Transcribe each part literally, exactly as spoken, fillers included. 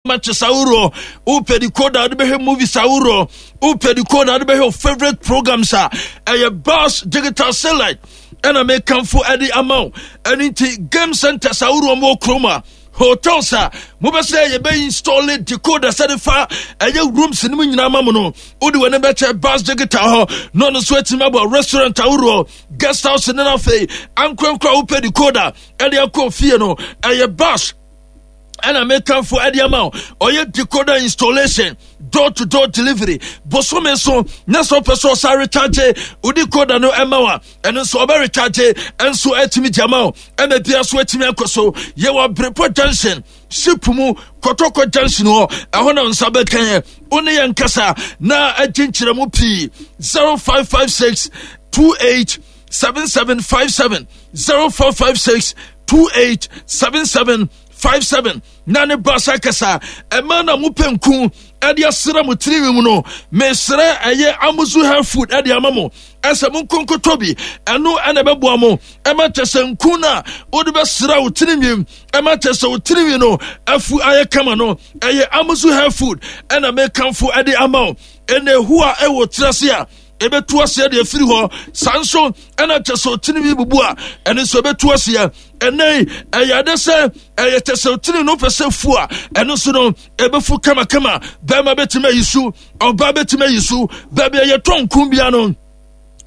Matches ahoroɔ, wopɛ decoder wode bɛhwɛ movies ahoroɔ, wopɛ decoder wode bɛhwɛ favorite programs a, ɛyɛ Bus Digital Satellite ɛna mekamfo ɛde ama wo. Ɛno nti game centers ahoroɔ mu wɔ kurom a, hotels a mobɛ sɛ yɛbɛ install decoder sɛde fa ɛyɛ rooms no mu nyinaa ma mo no, wode w'ani bɛkyɛ Bus Digital hɔ na ɔno nso atumi abɔ restaurant ahoroɔ, guest house ne no. Afei ankorankora wopɛ decoder ɛde akɔ fie no, ɛyɛ Bus ɛna mekamfo ɛde ama wo. Ɔyɛ decoder installation, door to door delivery. Bosome so na sɛ ɔpɛ sɛ ɔsa recharge wo decoder no ɛma wo a, ɛno nso ɔbɛ recharge ɛnso atumi gya ma wo, ɛna bia so atumi akɔ so. Yɛwɔ Abrepɔ Junction, ship mu Kɔtɔkɔ Junction hɔ, ɛhɔ na nsa bɛka yɛ. Wo ne yɛn kasa na agye nkyerɛmu pii. zero five five six two eight seven seven five seven, zero four five six two eight seven seven five seven na ne basa kasa. Ɛma na mopɛ nku ɛde asra mo tirinwi mu no, mesrɛ, ɛyɛ Amuzu Hair Food ɛde ama mo ɛsɛ mo nkonkotɔ bi. Ɛno ɛna ɛbɛboa mo ɛma kyɛ sɛ nku no a wode bɛsra wo tirinwi ɛma kyɛ sɛ wo tirinwi no afu ayɛ kama no, ɛyɛ Amuzu Hair Food ɛna mekamfo ɛde ama wo. Ɛna ehu a ɛwɔ tiri ase a, ɛbɛtu aseɛ de afiri hɔ. Saa nso ɛna kyɛ sɛ ɔtiri bubu a, ɛno nso ɛbɛtu aseɛ. Ɛnɛ ɛyɛ ade sɛ ɛyɛ kyɛ sɛ ɔtiri no pɛ sɛ fu a, ɛno nso no ɛbɛfu kamakama. Bɛrima bɛtumi ayi so, ɔbaa bɛtumi ayi so. Baabi a yɛtɔ nkum bia no,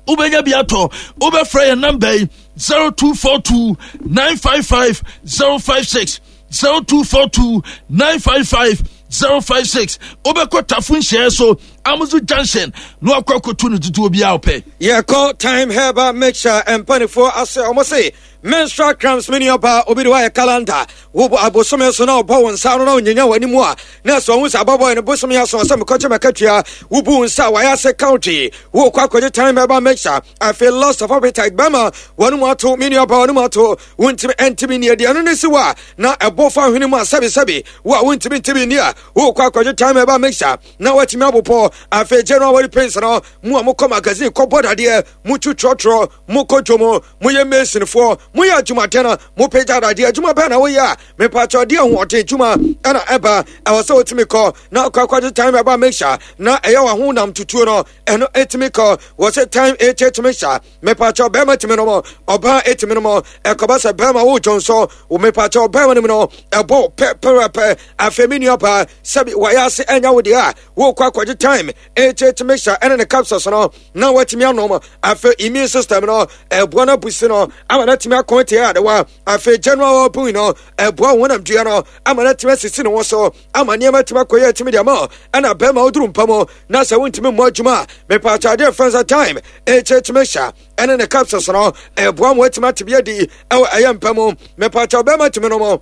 wobɛnya bi atɔ. Wobɛfrɛ yɛn number yi: zero two four two nine five five zero five six, zero two four two nine five five zero five six. Wobɛkɔ Tafo nhyɛɛ so, Amuzu Junction, na wakɔ akɔtu no tutuo biara wopɛ. Yɛkɔ Time Herbal Mixture mpanifoɔ ase. Ɔmo se menstrual cramps, me nuabaa, obi de wayɛ calendar wo abosome so na ɔbɔ wo nsa no na onyanya w'anim a, na sɛ ɔhu sɛ ababɔɛ no bosome aso sɛ mekɔgye makatua, wobu wo nsa a wayɛ ase country, wokɔ akɔgye Time Herbal Mixture. Afei loss of appetite, bɛma wɔn ato, me nuabaa, wɔn ato, wontumi ɛntumi nni aduane no si wɔ a na ɛbɔ fa hwene mu a, sɛbesɛbe, wo a wontumi ntumi nni a, wokɔ akɔgye Time Herbal Mixture na watumi abopɔ. Afei general body pains no mu a, mokɔ magazine kɔbɔ dadeɛ, motu trɔtrɔ, mokɔ dwom, moyɛ masonfoɔ, moyɛ adwumaden no, mopagya dadeɛ, adwuma bɛɛ na woyɛ a, mepakyɛ ɔde ahoɔden adwuma ɛna ɛba, ɛwɔ sɛ wotumi kɔ na kɔ akɔgye Time Herbal Mixture na ɛyɛ w'ahonam tutuo no, ɛno ɛtumi kɔ. Wɔ sɛ Time H H Mixture, mepakyɛ, bɛrima tumi nom, ɔbaa ɛtumi nom. Ɛkɔba sɛ bɛrima wo dwonsɔ, mepakyɛ, bɛrima no mu no ɛbɔ pɛpɛrɛpɛ. Afei me nua paa, sɛbi, wɔyɛ ase ɛnya wo deɛ a, wokɔ akɔgye Time H H Mixture ɛne ne capsules no na watumi anom. Afei immune system no ɛboa no abusi no ama no atumi akɔn te adewa. Afei general well-being no, ɛboa wo honam dua no ama no atumi asisi ne ho so ama nneɛma atumi akɔyɛ atumi deɛ ma. Ɛna bɛrima woduru mpa mu na sɛ wontumi mmɔ adwuma a, mepaakyɛ, adeɛ fɛn sɛ Time H H Mixture ɛne ne capsules no ɛboa ma watumi ate bi adi ɛwɔ ɛyɛ mpa mu. Mepaakyɛ, bɛrima tumi nom,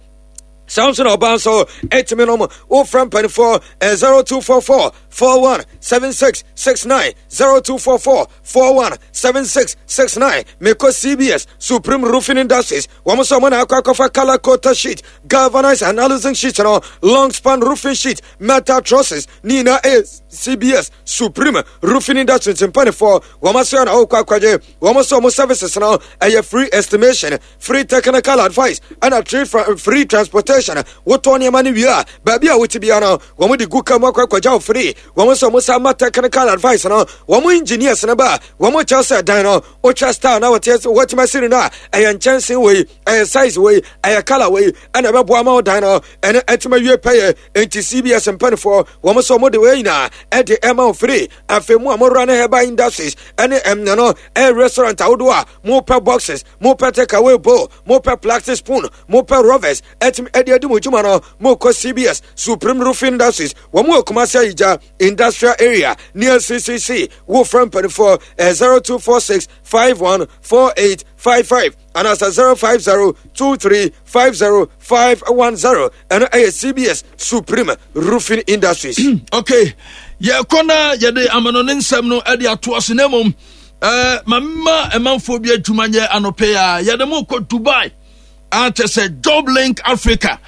saa nso na ɔbaa nso ɛtumi nom. Wofrɛ mpanimfoɔ zero two four four four one seven six six nine, zero two four four four one seven six six nine. Mekɔ C B S Supreme Roofing Industries. Wɔn nso wɔn na akɔ akɔfa color coated sheet, galvanized and aluzinc sheet no, long span roofing sheet, metal trusses ne nyinaa ɛyɛ C B S Supreme Roofing Industries mpanimfoɔ. Wɔn aso na ɔkɔ akɔgye. Wɔn nso wɔn services no ɛyɛ free estimation, free technical advice, ɛna free transportation. Wotɔ nneɛma no wie a, baabi a wote bia no, wɔn de gu ka mu akɔ akɔgya wo free. Wɔn nso wɔn sa ma technical advice no. Wɔn engineers no ba, wɔn kyerɛ sɛ dan no wotwa style na wɔte wɔtuma siri no a, ɛyɛ nkyɛnsee wei, ɛyɛ size wei, ɛyɛ colour wei, ɛna ɛbɛboa ma wo dan no ɛne ɛtuma wie pɛyɛ. Nti C B S mpanimfoɔ, wɔn nso wɔn de wɔn nyinaa ɛde ɛma wo free. Afei mu a wɔwura ne herbal industries ɛne ɛmna no ɛyɛ restaurant ahodoɔ a mopɛ boxes, mopɛ take away bowl, mopɛ plastic spoon, mopɛ rovers ɛtumi ɛde adi mo dwuma no, mokɔ C B S Supreme Roofing Industries. Wɔn wɔ Kumasi Ayigya Industrial Area near C C C. Wofrɛ mpanimfoɔ ɛ zero two four six five one four eight five five anaasɛ zero five zero two three five zero five one zero. Ɛno ɛyɛ C B S Supreme Roofing Industries. Okay, yɛkɔ na yɛde amano ne nsɛm no ɛde ato ase, na mmom ɛɛ mama ɛmanfoɔ bi adwuma nyɛ anɔpɛ a yɛde mo kɔ Dubai akyɛ sɛ Job Link Africa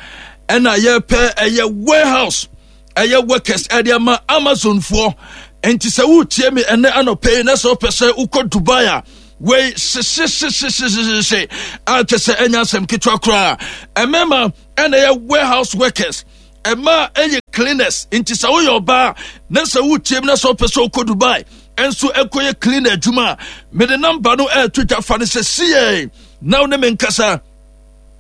ɛna yɛpɛ ɛyɛ warehouse ɛyɛ workers ɛde ama Amazon foɔ. Nti sɛ wotie me ɛnɛ anɔpɛ yi na sɛ wopɛ sɛ wokɔ Dubai a, wei hyehyehyehyehyehyehye a kyɛ sɛ ɛnya asɛm ketewa koraa. Ɛmɛma ɛna ɛyɛ warehouse workers Ɛma ɛyɛ cleaners. Nti sɛ woyɛ ɔbaa na sɛ wotie na sɛ wopɛ sɛ wokɔ Dubai ɛnso ɛkɔyɛ cleaner adwuma a, mede namba no ɛɛto dwa, fa no sɛ sie na wo ne me nkasa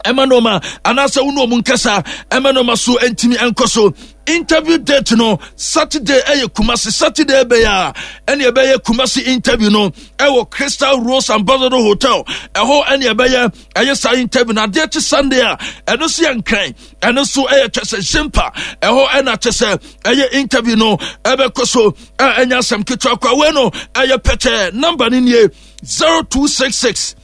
ɛma nneɛma, anaasɛ wo ne ɔmo nkasa ɛma nneɛma so ntumi nkɔ so. Interview date no, Saturday ɛyɛ Kumasi. Saturday ɛbɛyɛ a ɛne ɛbɛyɛ Kumasi interview no ɛwɔ Crystal Rose Ambassador Hotel. Ɛhɔ ɛne ɛbɛyɛ ɛyɛ saa interview no. Adeɛ kye Sunday a, ɛno so yɛ Nkran, ɛno so ɛyɛ kyɛ sɛ Zimpa, ɛhɔ ɛna kyɛ sɛ ɛyɛ interview no ɛbɛkɔ so. Ɛ ɛnyɛ asɛm ketewa kora. Wei no ɛyɛ pɛkyɛ. Number no nie: zero two six six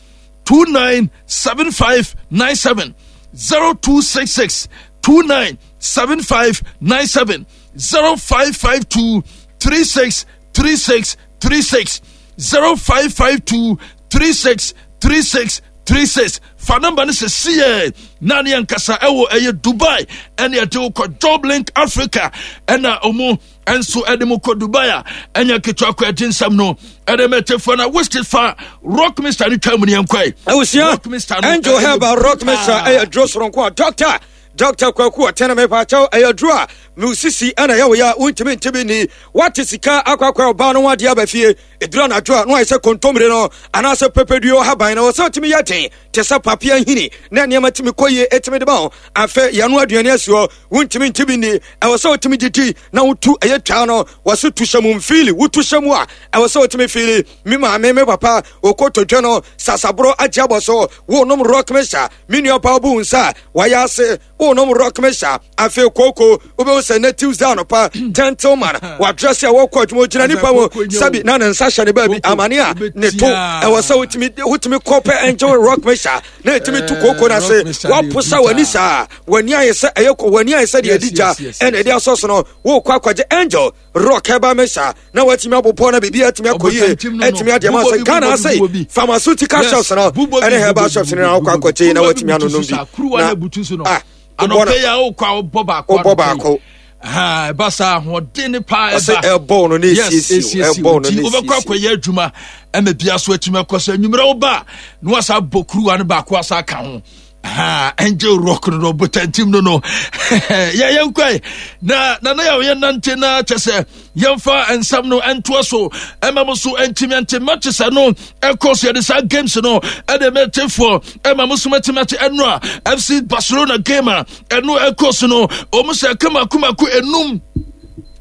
two nine seven five nine seven, zero two six six two nine seven five nine seven, zero five five two three six three six three six, zero five five two three six three six three six. Fa number no sɛ sie na ne yɛnkasa. Ɛwɔ ɛyɛ Dubai ɛne ɛde wo kɔ Job Link Africa, ɛna ɔmo ɛnso ɛde mu kɔ Dubai a ɛnyɛ ketewa kɔ. Ɛde nsɛm no ɛde mɛtefoɔ na Wizkid fa Rock Mister no twa mu ne yɛnkɔe. Abusua, Rock Mister no Angel ɛyɛ Herbal Rock Mixture ɛyɛ duro soronko a doctor Doctor Kwaku Ɔtɛn mepaakyɛw, ɛyɛ duro a musisi ɛna ɛyɛ wo ya, wontumi ntumi ni wate sika akɔ akɔ ɔbaa no ho adeɛ aba fie, ɛduru anadwo a na wayɛ sɛ kontommire no anaasɛ pɛpɛduo haban no, wɔ sɛ wotumi yɛ den te sɛ papea hini na nneɛma tumi kɔ yie, ɛtumi de ma wo. Afei yɛno aduane asi hɔ, wontumi ntumi ni, ɛwɔ sɛ wotumi didi na wotu ɛyɛ twaa no, wɔ so tu hyɛ mu mfiili, wotu hyɛ mu a ɛwɔ sɛ wotumi fiili. Me maame, me papa okotodwe no sasaborɔ agye abɔ so, wonom Rock Mixture, me nua pa, wobu nsa a wayɛ ase, wonom Rock Mixture. Afei kooko wobɛhu sɛ ne Tuesday anɔpa gentleman wadrɛse a wɔkɔ adwuma, ogyina nipa mu sɛbi na ne nsa hyɛ ne baabi amane a ne to, ɛwɔ sɛ wotumi wotumi kɔpɛ Angel Rock Mixture na ɛtumi tu kooko no ase. Waposa w'ani saa, w'ani ayɛ sɛ ɛyɛ w'ani ayɛ sɛ deɛ ɛdi gya ɛna ɛde asɔ so no, wokɔ akɔgye Angel Rock Herbal Mixture na watumi abobɔ na biribi atumi akɔ yie, atumi adeɛ ma sɛ Ghana ase pharmaceutical shops no ɛne herbal shops no na wokɔ akɔgye na watumi anonom bi na ah anɔpɛ yi a wokɔ a wobɔ baako. Wobɔ baako. Ɛba saa, ahoɔden ne paa. Ɛba ɛbɔ no ne esiesie, ɛbɔ no ne esiesie. Wobɛkɔ akɔyɛ adwuma ɛma bia so atumi akɔ so. Anwummerɛ wo ba na wasa bɔ kuruwa no baako asa aka ho. Ha Angel Rock no no botantim no no yɛyɛ nkwae na nana yɛ yɛ nante na kyɛ sɛ yɛmfa nsɛm no ɛntoa so ɛma mo so ɛntimi ɛnte matches no ɛkɔ so. Yɛde saa games no ɛde mɛtefoɔ ɛma mo so mɛtumi ate. Ɛno a F C Barcelona game a ɛno ɛkɔ so no, ɔmo sɛ kamakomako enum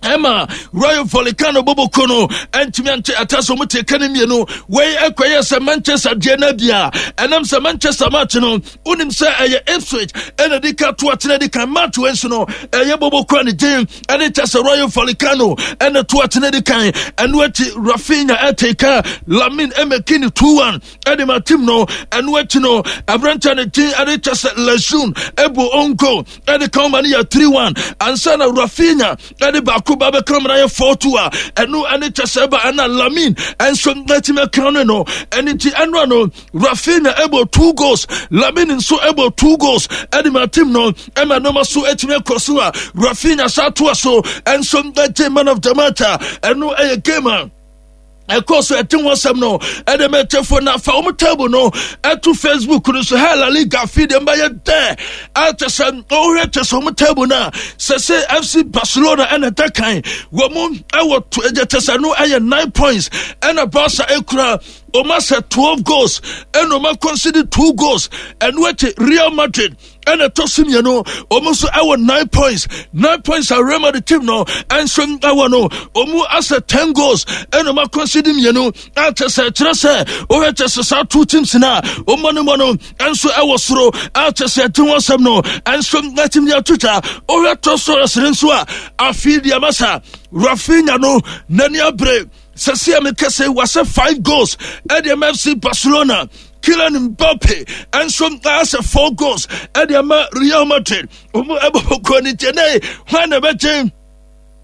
ɛma Rayo Vallecano boboko no ɛntumi ante ata so. Ɔmo te ka ne mmienu. Wei ɛkɔyɛ sɛ Manchester deɛ no bia ɛnam sɛ Manchester match no, wonim sɛ ɛyɛ Ipswich ɛna di ka to atena di kan. Match wei nso no ɛyɛ boboko a ne din ɛne kyɛ sɛ Rayo Vallecano ɛna to atena di kan. Ɛno akyi Raphinha ɛte ka Lamine ɛmɛki ne two one ɛde ma team no. Ɛno akyi no aberanteɛ ne din ɛde kyɛ sɛ Lejeune ɛbɔ own goal ɛde kan ma no yɛ three one ansa na Raphinha ɛde baako ba bɛka ma no yɛ four two a ɛno ɛne kyɛ sɛ ɛba ɛna Lamine ɛnso ɛtumi ɛka no no ɛne nti ɛno ano Raphinha ɛbɔ two goals, Lamine nso ɛbɔ two goals ɛde ma team no ɛma nneɛma so ɛtumi ɛkɔ so a Raphinha sa atoa so ɛnso ɛgye man of the match a ɛno ɛyɛ game a ɛkɔ so. Ɛte ho asɛm no ɛde mɛtɛfo na fa wɔn table no ɛto Facebook no so. Hɛ, La Liga fi deɛ mbɛyɛ dɛ ɛkyɛ sɛ ɔhwɛ kyɛ sɛ wɔn table no a sɛ sɛ F C Barcelona ɛna ɛda kan, wɔn mu ɛwɔ ɛgyɛ kyɛ sɛ no ɛyɛ nine points, ɛna Barca ekura wɔn asɛ twelve goals ɛna wɔn concede two goals. Ɛno akyi Real Madrid ɛna ɛtɔ so mmienu, wɔn nso ɛwɔ nine points, nine points a Real Madrid team no ɛnso ɛwɔ no, wɔn asɛ ten goals ɛna wɔn akɔnsi mmienu. Akyɛ sɛ kyerɛ sɛ wɔhwɛ kyɛ sɛ saa two teams na wɔn no mu no ɛnso ɛwɔ soro. Akyɛ sɛ ɛte ho asɛm no ɛnso ɛtumi de atwitwa. Wɔhwɛ tɔ so ɛsere nso a afei deɛ masa Raphinha no n'ani abere sɛsi a meka sɛ wasɛ five goals ɛde ma F C Barcelona. Kylian Mbappe nso asɛ four goals ɛde ama Real Madrid. Wɔn ɛbɔ kɔ ne tiɛ ne hwan na ɛbɛgye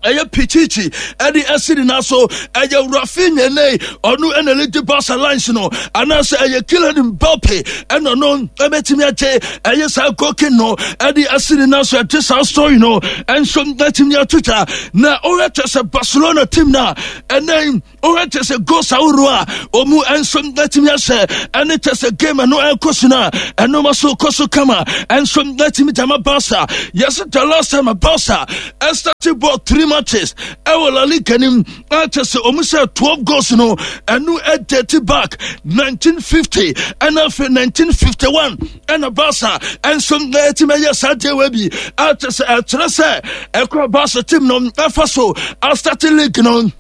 Ɛyɛ Pichichi ɛde ɛsi ne nan so. Ɛyɛ Rafinha ne ɔno ɛna lead Barca lines no, anaasɛ ɛyɛ Kylian Mbappe ɛna ɔno ɛbɛtumi agye ɛyɛ saa goal no ɛde ɛsi ne nan so? Ɛde saa story no ɛnso ɛtumi ato twa na ɔyɛ kyɛ sɛ Barcelona team na ɛnɛ ɔyɛ kyɛ sɛ goals ahodoɔ a ɔmu ɛnso ɛtumi ahyɛ, ɛne kyɛ sɛ game no ɛkɔ so no a, ɛnoma so kɔ so kama ɛnso ɛtumi gyama Barca. Yɛsɛ the last time a Barca ɛstart bɔ three matches ɛwɔ La Liga nim akyɛ sɛ ɔmu sɛ twelve goals no, ɛno ɛdate back nineteen fifty ɛna afei nineteen fifty-one ɛna Barca ɛnso ɛtumi ɛyɛ saa deɛ wɔ bi akyɛ sɛ ɛkyerɛ sɛ ɛkɔ Barca team no ɛfa so astart league no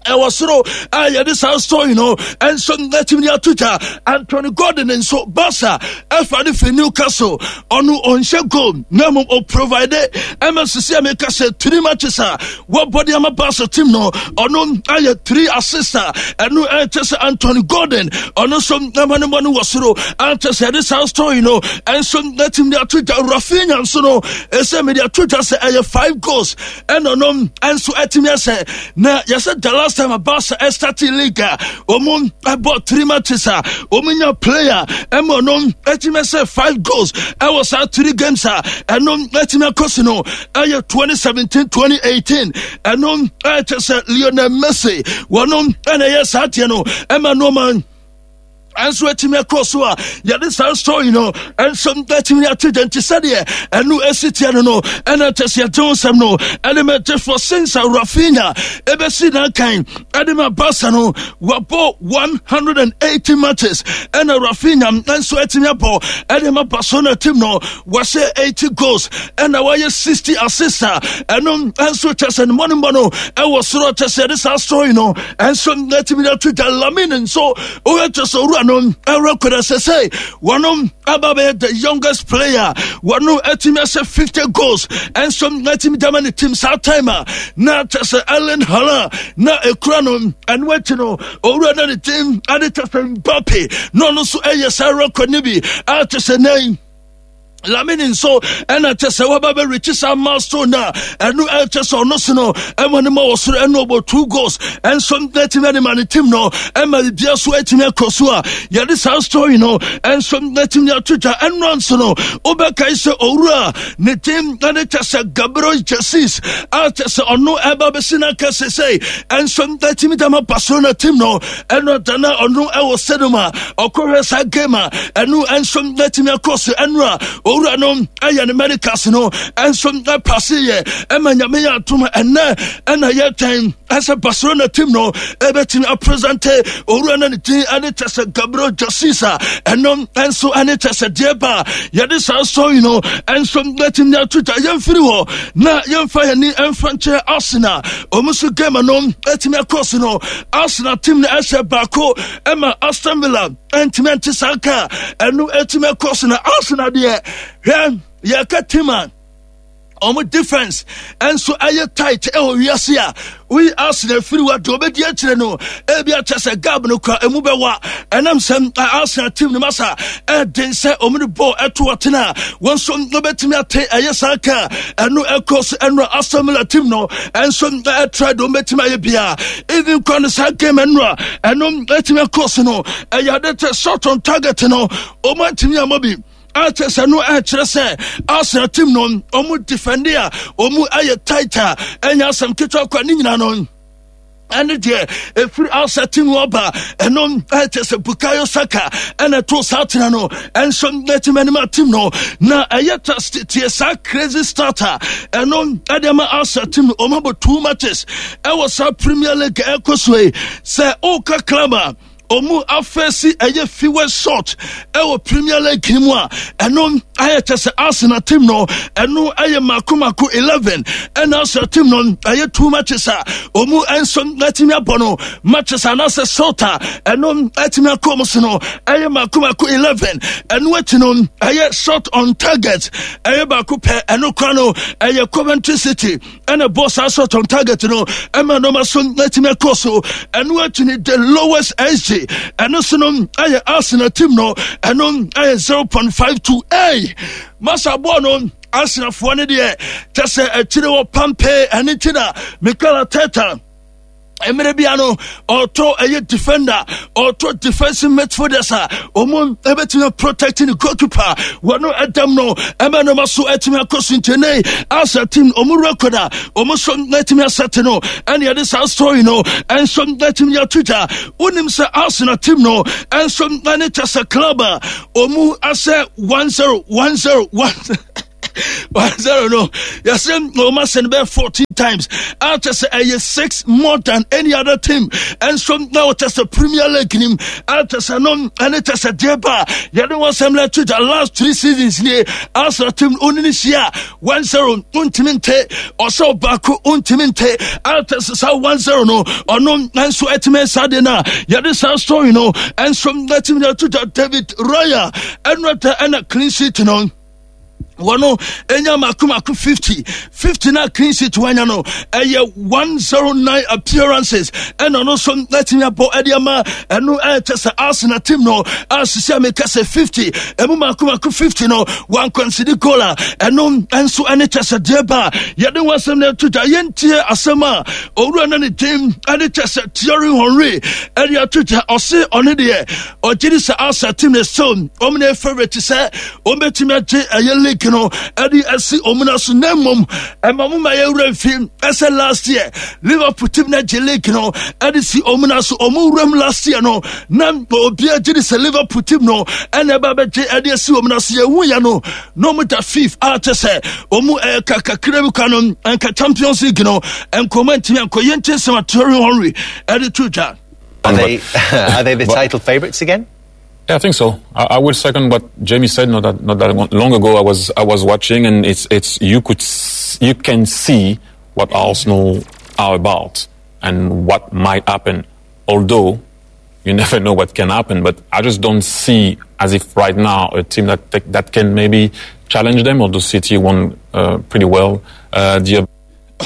ɛwɔ soro a yɛde saa story no ɛnso ɛtumi de ato gya. Anthony Gordon nso, Barca ɛfa ne fi Newcastle, ɔno ɔnhyɛ goal na mmom ɔprovide ɛma sisi a meka sɛ three matches a wɔbɔ de ama Barca team no, ɔno ayɛ three assists a ɛno ɛkyɛ sɛ Anthony Gordon ɔno nso ɛma ne mmɔ no wɔ soro akyɛ sɛ yɛde saa story no ɛnso ɛtumi de ato gya. Rafinha nso no, ɛsɛ mede ato gya sɛ ɛyɛ five goals ɛna ɔno ɛnso ɛtumi ahyɛ. Na yɛsɛ the last time Barca ɛstart league a ɔmo ɛbɔ three matches a ɔmo nya player ɛma ɔno ɛtumi ɛsɛ five goals ɛwɔ saa three games a ɛno ɛtumi akɔ so no, ɛyɛ twenty seventeen twenty eighteen. Ɛno ɛkyɛ sɛ Lionel Messi wɔno ɛna ɛyɛ saa teɛ no ɛma nneɛma ɛnso atumi akɔ so a yɛde saa story no ɛnso atumi ato gya. Nti sɛdeɛ ɛno ɛsi teɛ no no ɛna kyɛ sɛ yɛgye wo nsɛm no ɛne mɛgye since Rafinha ɛbɛsi n'akan ɛde ma Barca no, wabɔ one hundred eighty matches ɛna Rafinha nso atumi abɔ ɛde ma Barcelona team no, wahyɛ eighty goals ɛna wayɛ sixty assists a ɛno nso kyɛ sɛ ne mmɔnemmɔ no ɛwɔ soro kyɛ sɛ yɛde saa story no ɛnso atumi ato gya. Lamine nso, woyɛ kyɛ sɛ owura no ɛrekɔda sɛ sɛ wɔnom aba bɛyɛ the youngest player wɔno atumi ahyɛ fifty goals ɛnso atumi dama ne team. Saa time a na kyɛ sɛ Erling Haaland na ekura no, ɛno akyi no owura no ne team ade kyɛ sɛ Mbappe na ɔno nso ɛyɛ saa record no bi a kyɛ sɛ nɛn Lamine nso ɛna kyɛ sɛ waba bɛrekyi saa milestone a ɛno ɛkyɛ sɛ ɔno so no ɛma ne ma wɔ soro, ɛno ɔbɔ two goals ɛnso ɛtumi ɛde ma ne team no ɛma bibia so ɛtumi akɔ so a yɛde saa story no ɛnso ɛtumi ato dwa. Ɛno nso no, wobɛkae sɛ owura ne team ɛne kyɛ sɛ Gabriel Jesus a kyɛ sɛ ɔno ɛba bɛsi no aka sesei ɛnso ɛtumi da ma Barcelona team no, ɛno dana ɔno ɛwɔ stadium a ɔkɔhwɛ saa game a ɛno ɛnso ɛtumi akɔ so. Ɛno a owura no ɛyɛ ne medicals no ɛnso ɛpase yɛ ɛma Nyame yɛ atom. Ɛnɛ ɛna yɛtwɛn ɛsɛ Barcelona team no ɛbɛtumi apresent owura no ne din ɛne kyɛ sɛ Gabriel Jesus a ɛno ɛnso ɛne kyɛ sɛ deɛ ba yɛde saa story no ɛnso ɛtumi ato gya. Yɛmfiri hɔ na yɛmfa yɛni ɛmfa nkyerɛ Arsenal. Ɔmo nso game no ɛtumi akɔ so no, Arsenal team no ɛhyɛ baako ɛma Aston Villa ɛntumi ɛnte saa ka ɛno ɛtumi akɔ so. Na Arsenal deɛ, hwɛ, yɛka team a ɔmo defense ɛnso ɛyɛ tight ɛwɔ wiase a, woyi Arsenal firi wa deɛ ɔbɛdi akyire no, ebi akyɛ sɛ gap no kora emu bɛwa. Ɛnam sɛ Arsenal team no masa ɛden sɛ ɔmo de bɔɔl ɛto ɔtena a, wɔn nso wɔbɛtumi ate ɛyɛ saa ka ɛno ɛkɔ so. Ɛno Aston Villa team no ɛnso ɛtra de ɔmo bɛtumi ayɛ bia, even kora no saa game ɛno a ɛno ɛtumi ɛkɔ so no, ɛyɛ ade tɛ shot on target no ɔmo antumi ama bi akyɛ sɛ no ɛkyerɛ sɛ Arsenal team no ɔmo defend a ɔmo ayɛ tight a ɛnyɛ asɛm ketewa kora ne nyinaa no. Ɛne deɛ ɛfiri Arsenal team no ɔba, ɛno ɛkyɛ sɛ Bukayo Saka ɛna ɛto saa tena no ɛnso ɛtumi anim a team no na ɛyɛ tie saa crazy starter ɛno ɛde ama Arsenal team no. Ɔmo abɔ two matches ɛwɔ saa Premier League ɛkɔ so yi sɛ ɔka club a ɔmu afɛsi ɛyɛ fewest shot ɛwɔ Premier League mu a, ɛno ayɛ kyɛ sɛ Arsenal team no ɛno ɛyɛ mako mako eleven. Ɛna Arsenal team no ɛyɛ two matches a ɔmu ɛnso ɛtumi abɔ no matches anaasɛ shot a ɛno ɛtumi akɔ mu so no ɛyɛ mako mako eleven. Ɛno akyi no ɛyɛ shot on target ɛyɛ baako pɛ, ɛno kora no ɛyɛ Coventry City ɛna bɔ saa shot on target no ɛma nneɛma so ɛtumi akɔ so. Ɛno akyi ni the lowest X G ɛno so no ɛyɛ Arsenal team no, ɛno ɛyɛ zero point five two. Ɛy masa bɔɔl no Arsenalfoɔ no deɛ kyɛ sɛ akyire wɔ pampe. Ɛne nti na Mikel Arteta mmerɛ bia no ɔtɔ ɛyɛ defender, ɔtɔ defensive midfielders a ɔmo ɛbɛtumi protect ne goalkeeper wɔno ɛdam no ɛmɛ no ma so ɛtumi akɔ so. Nkyɛnɛ asa team ɔmo record a ɔmo so ɛtumi asɛte no, ɛne yɛde saa story no ɛnso ɛtumi ato gya. Wonim sɛ Arsenal team no ɛnso ɛne kyɛ sɛ club a ɔmo asɛ one zero one zero one one zero no, yɛsɛ ɔma sɛ no bɛyɛ fourteen times a kyɛ sɛ ɛyɛ six more than any other team ɛnso na wɔkyɛ sɛ Premier League nim a kyɛ sɛ no ɛne kyɛ sɛ deɛ ba yɛde wɔn asɛm no ato gya. Last three seasons nie, Arsenal team ɔne ne hyia one zero ntumi nte, ɔsɛ ɔbaako ntumi nte a kyɛ sɛ saa one zero no ɔno nso ɛtumi saa deɛ no a yɛde saa story no ɛnso ɛtumi ato gya. David Raya ɛno ɛtɛ ɛna clean sheet no wɔno ɛnya mako mako fifty fifty na clean sheet wanya no ɛyɛ one zero nine appearances, ɛna ɔno nso ɛtumi abɔ ɛde ama ɛno ɛkyɛ sɛ Arsenal team no asisi a meka sɛ fifty ɛmu mako mako fifty no wanconcede goal a ɛno nso ɛne kyɛ sɛ deɛ ba yɛde wɔn asɛm no ɛto dwa. Yɛntie asɛm a owura no ne din ɛde kyɛ sɛ Thierry Henry ɛde ato dwa. Ɔse ɔne deɛ ɔgye di sɛ Arsenal team no still ɔmo na favourite sɛ ɔmbɛtumi agye ɛyɛ league no ɛde asi ɔmo na so, na mmom ɛma mo ma yɛwura mfi ɛsɛ last year Liverpool team no agye league no ɛde si ɔmo na so. Ɔmo wuram last year no na obiara gye di sɛ Liverpool team no ɛna ɛba bɛgye ɛde asi ɔmo na so. Yɛhu yɛ no na ɔmo da fifth a kyɛ sɛ ɔmo ɛka kakra bi kwa no nka Champions League no nkɔmɔ ntumi ankɔ. Yɛnkyɛn sɛm a Thierry Henry ɛde to dwa. Are they, are they the title favourites again? Yeah, I think so. I, I will second what Jamie said not that not that long ago. I was I was watching, and it's it's you could you can see what Arsenal are about and what might happen. Although you never know what can happen, but I just don't see as if right now a team that that can maybe challenge them. Although City won uh, pretty well uh, the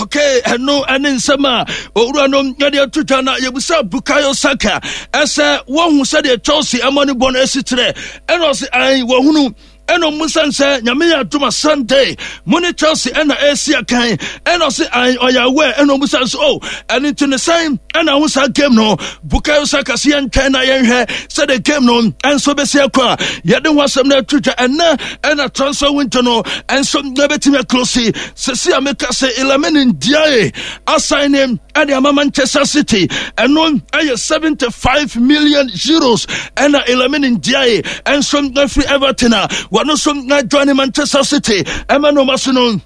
Okay, ɛno ɛne nsɛm a owura no yɛde ato dwa. Na yɛbusa Bukayo Saka ɛsɛ wɔhu sɛdeɛ Chelsea ɛma no bɔ no asi kyerɛ, ɛna ɔse ɛn wɔhunu. Ɛna ɔmo san sɛ Nyame yɛ adom a Sunday mo ne Chelsea ɛna ɛsi akan, ɛna ɔse an ɔyɛ aware. Ɛna ɔmo san sɛ oh, ɛno nti ne sɛn ɛna ho saa game no? Bukayo Saka se yɛntwɛn na yɛnhwɛ sɛde game no ɛnso bɛsi akɔ a yɛde ho asɛm no ato dwa. Ɛnɛ ɛna transfer window no ɛnso ɛbɛtumi aclose. Sɛsi a meka sɛ Iliman Ndiaye asan ne ɛde ama Manchester City, ɛno ɛyɛ seventy-five million euros. Ɛna Iliman Ndiaye ɛnso afiri Everton a wɔno nso na join Manchester City ɛma no ma so no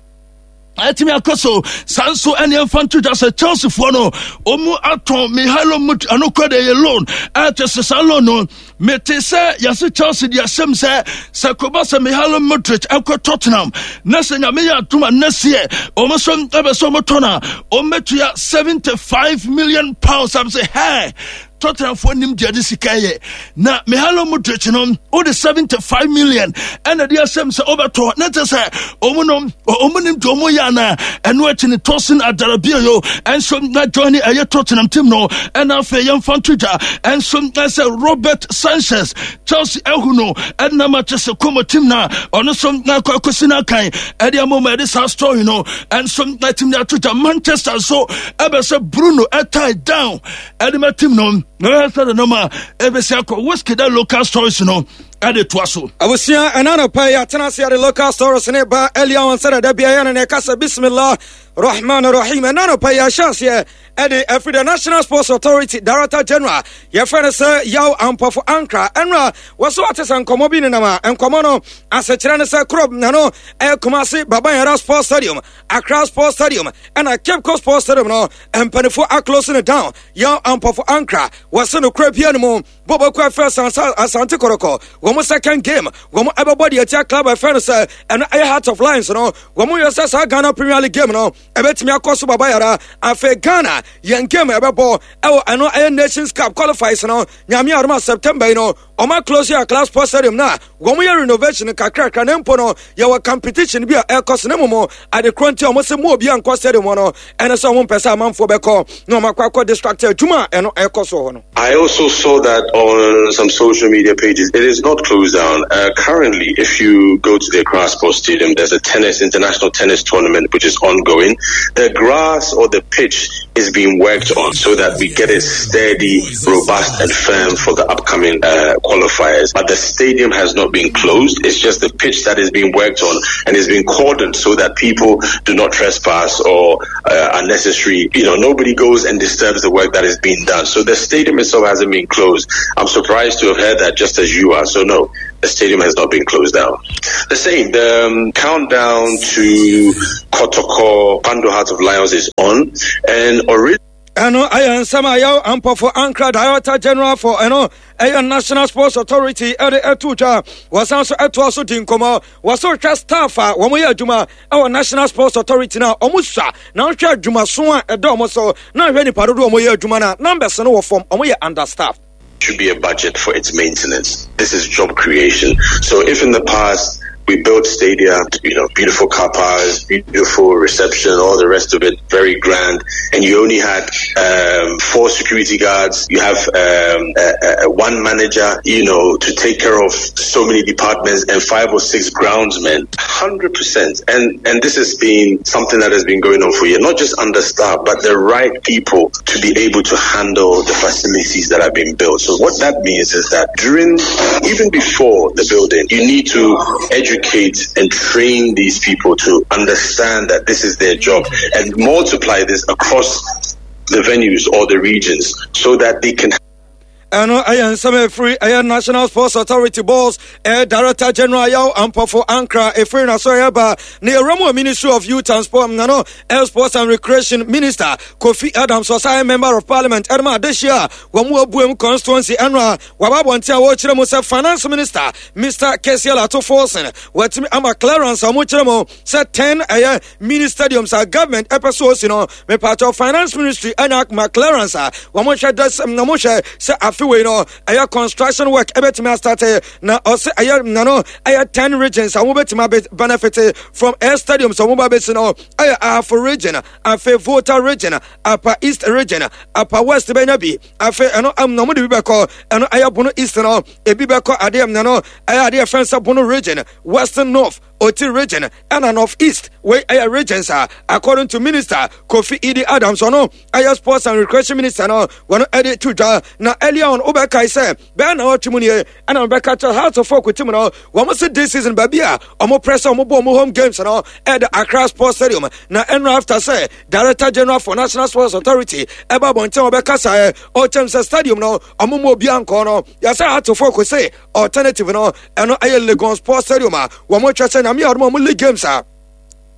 ɛtumi akɔ so. Saa nso ɛne ɛmfa nto dwa sɛ Chelseafoɔ no ɔmu atɔn Mihailo Mut, ɛno kɔ de ɛyɛ loan. Ɛkyɛ sɛ saa loan no mete sɛ yɛse Chelsea de asɛm sɛ sɛ koba sɛ Mihailo Mudrik ɛkɔ Tottenham na sɛ Nyame yɛ adom a nɛseɛ ɔmo so ɛbɛ sɛ ɔmotɔ no a ɔmmɛtua seventy-five million pounds. Am sɛ hɛ Tottenhamfoɔ nim deɛ de sika yɛ na Mihailo Mudrik no wode seventy-five million ɛna de asɛm sɛ wobɛtɔ ne te sɛ ɔmu no ɔmu nim deɛ ɔmu yɛ anaa. Ɛno akyi ne Tosin Adarabioyo ɛnso na join ɛyɛ Tottenham team no. Ɛna afei yɛmfa nto dwa ɛnso ɛsɛ Robert Sanchez, Chelsea ahu no ɛnam akyɛ sɛ Como team na ɔno nso na akɔ akɔsi no akan ɛde ama mu. Ɛde saa story no ɛnso na team no ato dwa. Manchester nso ɛbɛ sɛ Bruno ɛtie down ɛde ma team no na ɛyɛ sɛ de nɔma ɛbɛsi akɔ. Whiskey da local stories no ɛde toa so. Abusua, ɛna anɔpa yi atena ase yɛde local stories ne ba earlier on sɛdeɛ da bia yɛ no ne ɛka sɛ bismillah rahman rahim. Ɛna anɔpa yi ahyɛ aseɛ ɛde ɛfiri the National Sports Authority Director General, yɛfrɛ no sɛ Yaw Ampɔfo Ankra. Ɛnora wɔso ate sɛ nkɔmmɔ bi nenam a nkɔmmɔ no asekyerɛ no sɛ kurom na no ɛyɛ Kumase Baba Yara Sports Stadium, Accra Sports Stadium ɛna Cape Coast Sports Stadium no mpanimfoɔ aclose no down. Yaw Ampɔfo Ankra wɔse no kora bia no mu bɔbɔkɔ ɛfɛ sansa Asante Kɔtɔkɔ wɔn second game wɔn ɛbɛbɔ deɛ tia club ɛfɛ no sɛ ɛno ɛyɛ Heart of Lions no. Wɔn yɛ sɛ saa Ghana Premier League game no ɛbɛtumi akɔ so Baba Yara. Afei Ghana yɛn game ɛbɛbɔ ɛwɔ ɛno ɛyɛ Nations Cup qualifiers no, Nyame aroma, September yi no Ɔma close Accra Sports Stadium na wɔn yɛ renovation kakrakra ne mpo no yɛwɔ competition bi a ɛkɔ so ne mu mo ade korɔ nti ɔmo sɛ mu obi ankɔ stadium hɔ no ɛne sɛ ɔmo mpɛ sɛ amanfoɔ bɛkɔ na ɔmo akɔ akɔ distract adwuma a ɛno ɛkɔ so hɔ no. I also saw that on some social media pages. It is not closed down. Uh, currently, if you go to the Accra Sports Stadium, there's a tennis, international tennis tournament which is ongoing. The grass or the pitch is being worked on so that we get it steady, robust, and firm for the upcoming uh, qualifiers. But the stadium has not been closed. It's just the pitch that is being worked on and is being cordoned so that people do not trespass or uh, unnecessary, you know, nobody goes and disturbs the work that is being done. So the stadium itself hasn't been closed. I'm surprised to have heard that just as you are. So no, the stadium has not been closed down. The same, the um, countdown to Kotoko Kpando Heart of Lions is on, and originally ɛno ɛyɛ nsɛm a Yaw Ampɔfo Ankra, Director General for ɛno ɛyɛ National Sports Authority, ɛde ɛto twa. Wɔsan so ɛtoa so di nkɔmmɔ. Wɔso hwɛ staff a wɔn yɛ adwuma ɛwɔ National Sports Authority na wɔn sua na wɔhwɛ adwumaso a ɛda wɔn so na hwɛ nipa dodoɔ a wɔn yɛ adwuma na numbers no wɔ fam, wɔn yɛ understaffed. Should be a budget for its maintenance. This is job creation. So if in the past we built stadia, you know, beautiful car parks, beautiful reception, all the rest of it, very grand, and you only had um, four security guards, you have um, a, a, one manager, you know, to take care of so many departments, and five or six groundsmen, hundred percent. And and this has been something that has been going on for years, not just understaffed, but the right people to be able to handle the facilities that have been built. So what that means is that during, even before the building, you need to educate and train these people to understand that this is their job and multiply this across the venues or the regions so that they can Ɛno ɛyɛ nsɛm ɛfiri ɛyɛ National Sports Authority boss, ɛyɛ Director General Yaw Ampɔfo Ankra. Ɛfiri na so ɛyɛ ba na yɛwura mu wɔ Ministry of Youth and Sport na no ɛyɛ Sports and Recreation Minister Kofi Adams, ɔsan Member of Parliament ɛnum adehyia a wɔn mu abuem constituency. Ɛno a waba abɔnten a wɔrekyerɛ mu sɛ Finance Minister Mister Cassiel Ato Forson wɔatumi ama clearance a wɔkyerɛ mu sɛ ten ɛyɛ mini stadiums a government ɛpɛ so osi no, mepatɔ Finance Ministry ɛna ama clearance a wɔn hwɛ dɛ na wɔn hwɛ sɛ afe wei no ɛyɛ construction work ɛbɛtumi astart. Na ɔsɛ ɛyɛ nano ɛyɛ ten regions a wɔn bɛtumi abɛ benefit from air stadiums a wɔn ba bɛsi no ɛyɛ Ahafo Region, afei Volta Region, Upper East Region, Upper West bɛnya bi, afei ɛno ɛm na wɔn de bi bɛkɔ ɛno ɛyɛ Bono East no, ebi bɛkɔ adeɛ nano ɛyɛ adeɛ fɛn sɛ Bono Region, Western North, Oti Region ɛna North East. Wei ɛyɛ regions a according to Minister Kofi Idi Adams, ɔno ɛyɛ Sports and Recreation Minister no, wɔn ɛde to dwa. Na earlier on wobɛkae sɛ bɛɛ na ɔtwe mu nie ɛna wɔbɛka kyerɛ Hearts of Oak team no, wɔn se this season baabi a wɔn prɛ sɛ wɔn bɔ wɔn home games no ɛde Accra Sports Stadium. Na ɛno after sɛ Director General for National Sports Authority ɛba abɔnten a wɔbɛkasa ɛ ɔkyɛm sɛ stadium no wɔn mu obi ankɔ no, yɛsɛ Hearts of Oak sɛ alternative no ɛno ɛyɛ Legon Sports Stadium a wɔn atwa sɛ Nyame a wɔn league games a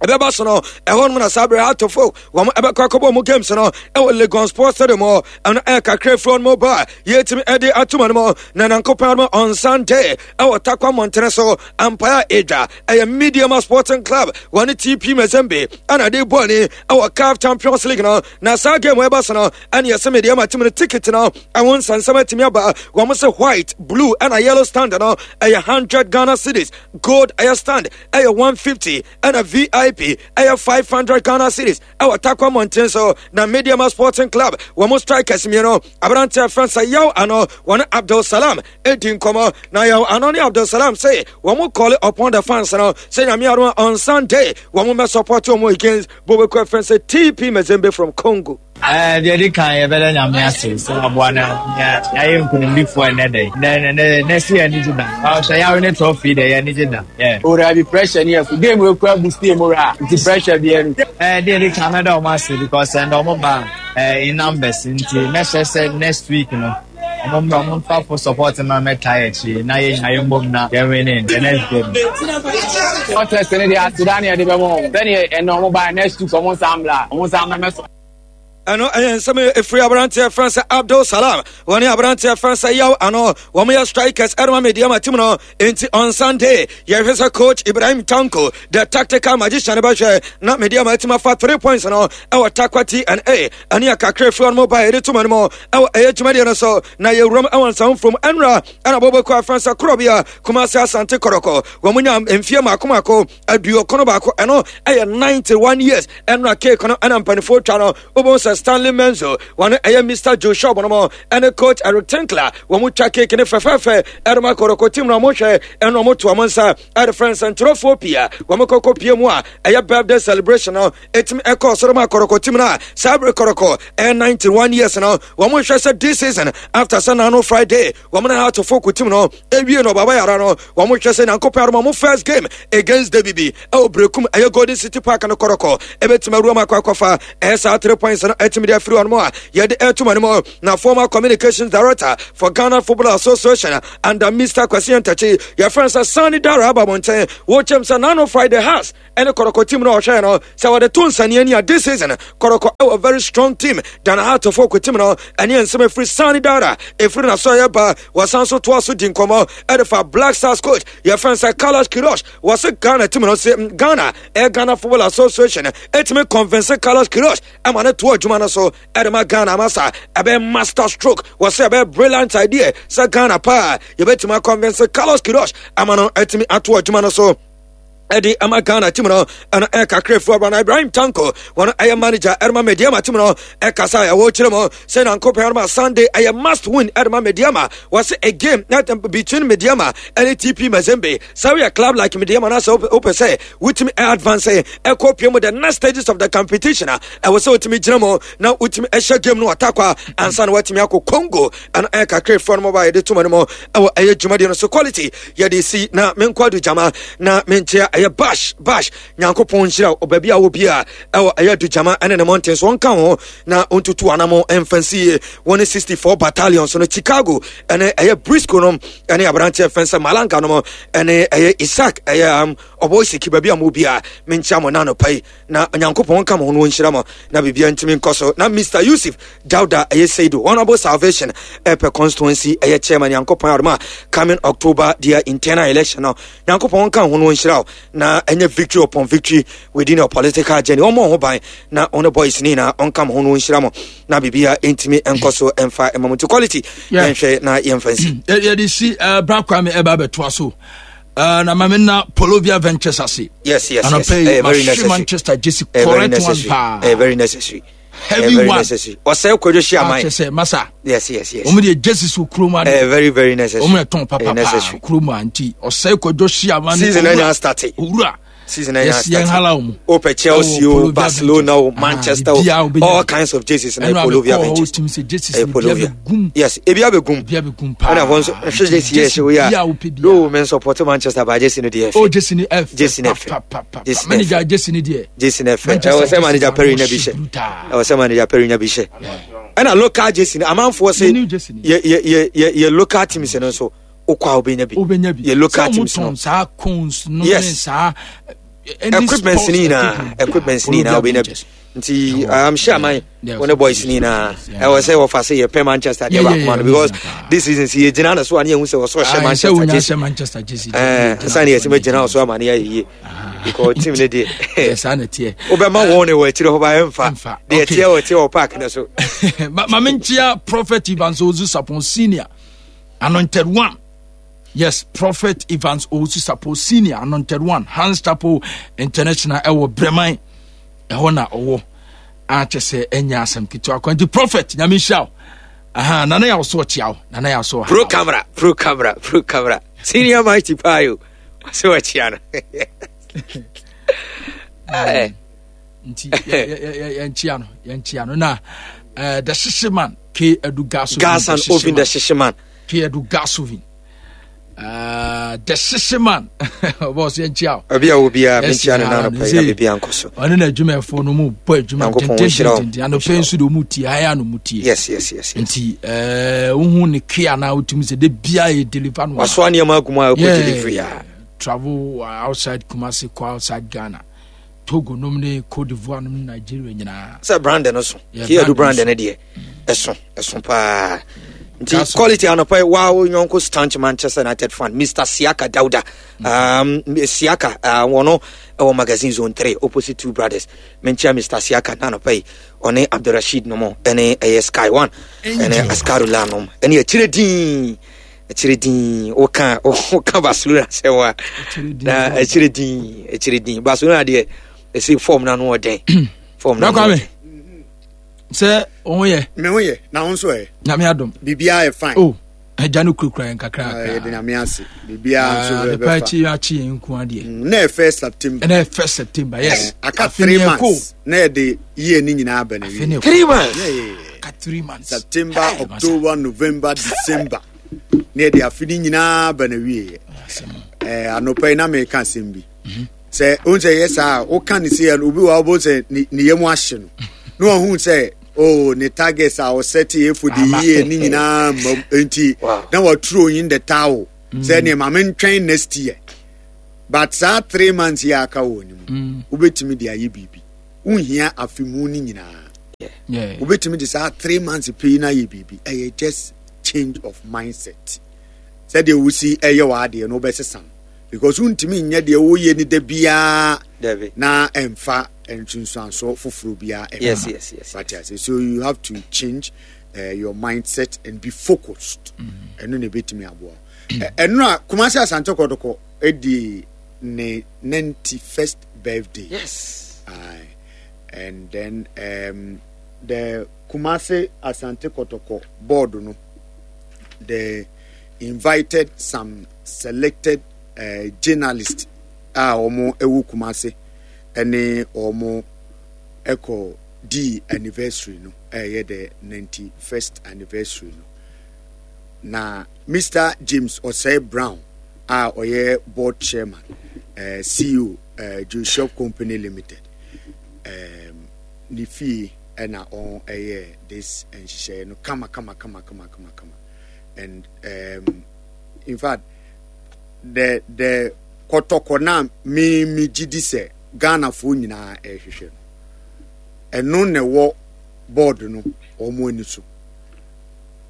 ɛbɛba so no ɛhɔ nom. Na saa berɛ atofo wɔn ɛbɛkɔ akɔbɔ mu games no ɛwɔ Legon Sports Stadium hɔ. Ɛno ɛyɛ kakra firi no ba a yɛtumi ɛde atoma no mu. Na Nankopɔn no on Sunday ɛwɔ Takwa mmɔntene so ampaeɛ a ɛdwa ɛyɛ Medeama Sporting Club wɔne T P Mazembe ɛna de bɔ ani ɛwɔ CAF Champions League no. Na saa game ɛba so no ɛne yɛsɛ Medeama team no ticket no ɛho nsansɛm atumi aba. Wɔn sɛ white, blue ɛna yellow stand no ɛyɛ hundred Ghana cedis, gold ɛyɛ stand ɛyɛ one fifty, ɛna V I P ɛyɛ five hundred Ghana cedis ɛwɔ Takwa mmɔnten so. Na Medeama Sporting Club wɔn strikers mmienu, aberanteɛ fɛn sɛ Yaw Ano, wɔne Abdul Salam edi nkɔmɔ. Na Yaw Ano ne Abdul Salam sɛ wɔn call upon the fans no sɛ Nyame adom on Sunday wɔn bɛ support wɔn against bobekɔ fɛn sɛ T P Mazembe from Congo. Ɛɛ, deɛ di kan, yɛbɛda Nyame ase sɛ waboa no yɛayɛ nkonimdifoɔ ɛnɛ dɛ nɛ nɛ si yɛ anigye da ɔhyɛ yɛawe ne trophy dɛ yɛ anigye da. Owura bi pressure ni ɛfu game wey kura boost mu ra nti pressure bi ɛnu. Ɛɛ, deɛ di kan, mɛda ɔmo ase because ɛnna ɔmo ba ɛɛ in numbers nti mɛhyɛ sɛ next week no ɔmo mmra, ɔmo nfa fo support ma mɛta yɛ akyi na yɛ nyinaa yɛ mbom na yɛn win the next game. Contest ne deɛ, aseda ne yɛde bɛma wɔn sɛdeɛ ɛnna ɔmo ba next week ɔmo nsa mbla ɔmo nsa mbla mɛsɔ. Ɛno ɛyɛ nsɛm ɛfiri aberanteɛ frɛ sɛ Abdul Salam, wɔne aberanteɛ frɛ sɛ Yaw Ano, wɔn yɛ strikers ɛrema Medeama team no. Enti on Sunday yɛhwɛ sɛ coach Ibrahim Tanko, the tactical magician, bɛhwɛ na Medeama team afa three points no ɛwɔ Tarkwa T N A. Ɛne akakra firi ɔno ba yɛde toma no mu ɛwɔ ɛyɛ dwumadeɛ no so na yɛwuram ɛwɔ nsɛm from ɛnra ɛna bɔbɔkɔ afrɛ sɛ korɔbea Kumase Asante Kɔtɔkɔ, wɔn nya mfie mako mako aduokɔno baako, ɛno ɛyɛ ninety-one years. Ɛnra cake no ɛna mpanimfoɔ twa no, wobɛhu sɛ Stanley Menzo, wɔne ɛyɛ Mister Joe Shaw no mo ɛne coach Eric Tinkler, wɔn twa cake no fɛfɛɛfɛ ɛrema Kɔtɔkɔ team no. Wɔn hwɛ ɛna wɔn to wɔn nsa ɛde frɛ nsɛntwerɛfoɔ pii a wɔn kɔkɔ pie mu a ɛyɛ birthday celebration no ɛtumi ɛkɔɔ soro ma Kɔtɔkɔ team no a saa bere Kɔtɔkɔ ɛyɛ ninety-one years no. Wɔn hwɛ sɛ this season, after sɛ nano Friday wɔn na Hearts of Oak team no ewie no ɔbaba yara no, wɔn hwɛ sɛ Nyankopɔn aroma wɔn first game against Debibi ɛwɔ Brekum ɛyɛ Golden City Park no, Kɔtɔkɔ ɛbɛtumi awura mu akɔ akɔfa ɛyɛ saa three points no ɛtumi de afiri wɔn mu a yɛde ɛtum anim. Na former communications director for Ghana Football Association under Mister Kwesi Ntakyi, yɛfrɛ sɛ Sani Dara, aba abɔnten wɔkyɛm sɛ nano Friday Hearts ɛne Kɔtɔkɔ team no ɔhwɛ no sɛ wɔde to nsania ni a, this season Kɔtɔkɔ ɛwɔ very strong team than Hearts of Oak team no. Ɛne nsɛm ɛfiri Sani Dara ɛfiri na so ɛyɛ ba. Wɔsan so toa so di nkɔmmɔ ɛde fa Black Stars coach yɛfrɛ sɛ Carlos Queiroz. Wɔse Ghana team no sɛ Ghana ɛyɛ Ghana Football Association ɛtumi convince Carlos Queiroz ɛma ne toa adwuma no so ɛde ma Ghana ama sa ɛbɛyɛ master stroke. Wɔsɛ ɛbɛyɛ brilliant idea sɛ Ghana paa yɛbɛtumi aconvince Carlos Queiroz ama no ɛtumi ato adwuma no so ɛde ama Ghana team no. Ɛno ɛkakra fu aba. Na Ibrahim Tanko, wɔn ɛyɛ manager ɛrema Medeama team no, ɛkasa ɛwɔ kyerɛ mu sɛ Nyankopɔn ɛrema Sunday ɛyɛ must win ɛrema Medeama. Wɔsɛ a game between Medeama ɛne T P Mazembe, sɛ woyɛ club like Medeama na sɛ wopɛ sɛ wotumi advance ɛkɔ pie mu the next stages of the competition a, ɛwɔ sɛ wotumi gyina mu na wotumi ɛhyɛ game no atakwa ansa na watumi akɔ Congo. Ɛno ɛkakra fu no mu ba yɛde toma no mu ɛwɔ ɛyɛ dwumadie no so. Quality yɛde si na menkɔ Adugyama na menkyea ɛyɛ Bash Bash. Nyankopɔn nhyira wo baabi a wɔ bi a ɛwɔ ɛyɛ Adugyama ɛne ne mmɔnten so, ɔnka ho na ɔntutu anamo ɛmfa nsi yie. Wɔne sixty-four battalion so no, Chicago ɛne ɛyɛ Brisco no ɛne aberanteɛ fɛn sɛ Malanga no ɛne ɛyɛ Isaac ɛyɛ um, ɔbɔ siki baabi a mo bi a menkyea mo nanopa yi na Nyankopɔn nka mo ho no ɔnhyira mo na biribia ntumi nkɔ so. Na Mister Yusuf Dauda ɛyɛ Seidu, Honorable Salvation ɛpɛ constituency ɛyɛ chairman, Nyankopɔn adom a coming October their internal election no, Nyankopɔn nka ho no ɔnhyira wo na ɛnyɛ victory upon victory within your political journey. Ɔmmɔ ho ban na ɔne boys ne nyinaa ɔnka mo ho no ɔnhyira mo na biribia ntumi nkɔ so ɛmfa ɛma mo. Nti quality yɛnhwɛ na yɛmfa nsi. Yɛde si bra Kwame ɛba bɛtoa so. Uh, na maame na Polovia Ventures ase. Yes, yes, yes. Eh, very necessary. Manchester jersey, eh, correct one paa. Eh, very necessary. Heavy very one. Necessary. Ɔsɛ kwadwo hyia man. Kyɛ sɛ masa. Yes, yes, yes. Wɔn de jersey so kurom ade. Eh, very, very necessary. Wɔn yɛ tɔn papa paa kurom a nti ɔsɛ kwadwo hyia man. Season ɛnya start. Owura. Season ɛnya start. Yɛn hala wɔn. Opɛ Chelsea o, Barcelona o, Manchester o, all kinds of jerseys na Polovia Ventures. Ɛyɛ Polovia. Yes, ebi abɛgum. Ebi abɛgum paa. Ɛna hɔ nso nhwɛ jersey yɛ ɛhyɛ wo yi a. Do men support Manchester ba jersey no deɛ ɛfɛ. Oh, jersey ni ɛfɛ. Jersey no ɛfɛ. Jersey no ɛfɛ. Manager jersey ni deɛ. Jersey no ɛfɛ. Ɛwɔ sɛ manager Perry nya bi hyɛ. Ɛwɔ sɛ manager Perry nya bi hyɛ. Ɛna local jersey no amanfoɔ sɛ yɛ yɛ yɛ yɛ local teams no nso wokɔ a wobɛnya bi. Wobɛnya bi. Yɛ local teams no. Saa cones no. Yes. Saa. Equipment ni nyinaa, equipment ni nyinaa wobɛnya bi. Nti I'm sure man wɔne boys ni nyinaa ɛwɔ sɛ wɔfa sɛ yɛpɛ Manchester deɛ baako ma no because this season sɛ yɛgyina no so a ne yɛhu sɛ wɔsɛ ɔhyɛ Manchester jersey. Ɛɛ sane yɛsɛ mɛgyina wo so ama ne yɛayɛ yie because team no deɛ wobɛma wɔn ne wɔ akyire hɔ ba ɛmfa deɛ ɛteɛ wɔ teɛ wɔ park no so. Ma menkyia Prophet Evans Ozu Sapon Senior, Anointed One. Yes, Prophet Evans Owusu Sapo Senior, Anointed One, Hans Chapel International ɛwɔ Breman ɛhɔ na ɔwɔ akyɛ sɛ ɛnyɛ asɛm ketewa kwan. Nti Prophet, Nyame nhyira wo. Aha nana yɛ ɔso ɔkyia wo, nana yɛ ɔso. Pro camera, pro camera, pro camera senior mighty paayo ɔsɛ ɔkyia no. Nti yɛnkyia no, yɛnkyia no na uh, the hyehye man K Edu Gasovin. Gas and oven, the hyehye man. K Edu Gasovin, uh, the hyehye man ɔbɔ so, yɛnkyia wo. Obi a obiara menkyia no nano pɛ na biribi ankɔ so. Ɔne na adwumayɛfoɔ no mu bɔ adwuma tentententen anɔpɛ nso de ɔmu tie ha yɛ ano mu tie. Yes yes yes. Nti wohu ne kea na wotumi sɛ de bia yɛ deliver no. Wasoa nneɛma agu mu a ɛkɔ delivery a. Travel outside Kumasi, kɔ outside Ghana. Togo nom ne Cote d'Ivoire nom ne Nigeria nyinaa. Sɛ brand no so. Kiadu brand no deɛ ɛso ɛso paa. Nti quality anɔpa yi waa wo nyɔnko staunch Manchester United fan Mr Siaka Dauda. Mm. Um, Siaka uh, wɔno ɛwɔ magazine zone three opposite two brothers. Menkyia Mr Siaka na anɔpa yi ɔne Abdulrasheed nom ɛne ɛyɛ Sky One ɛne Askarula nom ɛne akyire din akyire din woka woka Barcelona sɛ wa na akyire din akyire din Barcelona deɛ ɛsɛ fɔm na no ɔdɛn fɔm na no ɔdɛn sɛ wo ho yɛ me ho yɛ na wo nso ɛ nyame adom biribiara yɛ fine oh agya no kurakura yɛn kakra ah, yɛde nyame ase biribiara nso ah, bɛfa adepa akyi akyi yɛn nko adeɛ mm, na yɛ first september na yɛ first september yes eh, aka three months na yɛde yie ne nyinaa bɛ na wie three months aka three months september october november december na yɛde afe ne nyinaa bɛ na wie yɛ eh, anɔpa yi na meka asɛm bi mhm. Sɛ ohun sɛ yɛ saa a woka ne se obi wɔ ɔbɔ sɛ ne yam ahye no na ɔhu sɛ oh ne targets a ɔsɛte efo de yie ne nyinaa mmam nti na waturo in the towel mm. sɛ nea maame ntwɛn next year but saa three months yɛ aka wɔ ne mu mm. wobɛtumi de ayɛ biribi wonhia afe mu no nyinaa wobɛtumi de saa three months pii no ayɛ biribi ɛyɛ just change of mindset sɛdeɛ wosi ɛyɛ w'adeɛ no wobɛsesa no because wontumi nyɛ deɛ woyɛ ni da biara na ɛmfa nsunsuansoɔ foforɔ biara ɛmma yes, yes, yes, yes. ase so you have to change uh, your mindset and be focused mm. ɛno na ɛbɛtumi aboa ɛno a Kumasi Asante Kɔtɔkɔ ɛdi ne ninety first birthday yes Aye. and then um, the Kumasi Asante Kɔtɔkɔ board no they invited some selected uh, journalists a wɔn wɔ Kumasi ne wɔn kɔ dii anniversary no ɛyɛ the ninety first anniversary no na Mr James Osei Brown a ɔyɛ board chairman uh, C E O uh, Joshua Company Limited um, ne fie ɛna wɔn ɛyɛ this nhyehyɛeɛ no kama kama kama kama kama kama and um, in fact the the kɔtɔkɔ na me me gye di sɛ Ghanafoɔ nyinaa ɛrehwehwɛ no ɛno na ɛwɔ board no wɔn ani so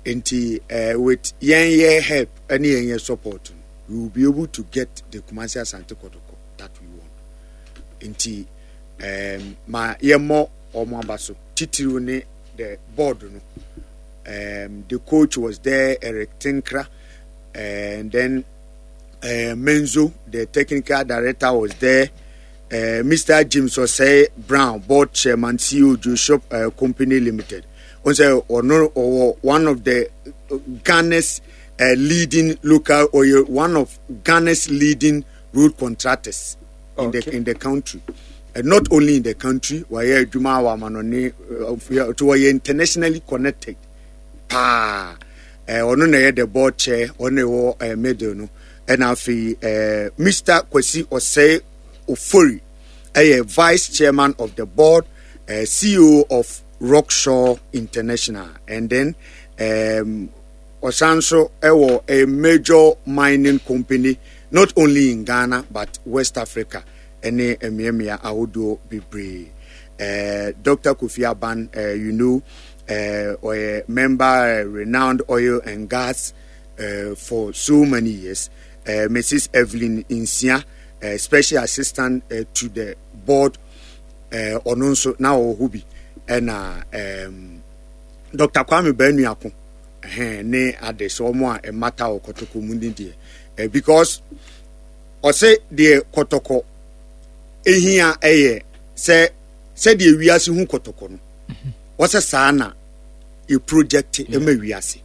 nti uh, with yɛn yɛ help ɛne yɛn yɛ support no we will be able to get the Kumasi Asante Kɔtɔkɔ that we want nti um, ma yɛmmɔ wɔn aba so titiriw ne the board no um, the coach was there Eric Tinkra and then uh, Menzo the technical director was there uh, Mister James Osei Brown board chairman C E O Joshua uh, Company Limited on say or one of the Ghana's uh, leading local or one of Ghana's leading road contractors in okay. the in the country. And not only in the country, why Juma wa manone to why internationally connected. Pa eh ono na the board chair on the middle no and afi eh Mister Kwesi Osei Ofori a vice chairman of the board, uh, C E O of Rockshaw International, and then um Osanso ewo a major mining company not only in Ghana but West Africa. Any emiemia ahodo bebree. Uh, Doctor Kofi Aban, uh, you know, uh, or a member, uh, renowned oil and gas uh, for so many years. Uh, Missus Evelyn Nsia, uh, special assistant uh, to the board, uh, ononso now hubi, and uh, um, Doctor Kwame Benuako, uh, ne ade so mo a matter okotoko mundi die, because ɔsɛ deɛ kɔtɔkɔ ehia ɛyɛ sɛ sɛ deɛ wiase hu kɔtɔkɔ no ɔsɛ saa na e project ɛma wiase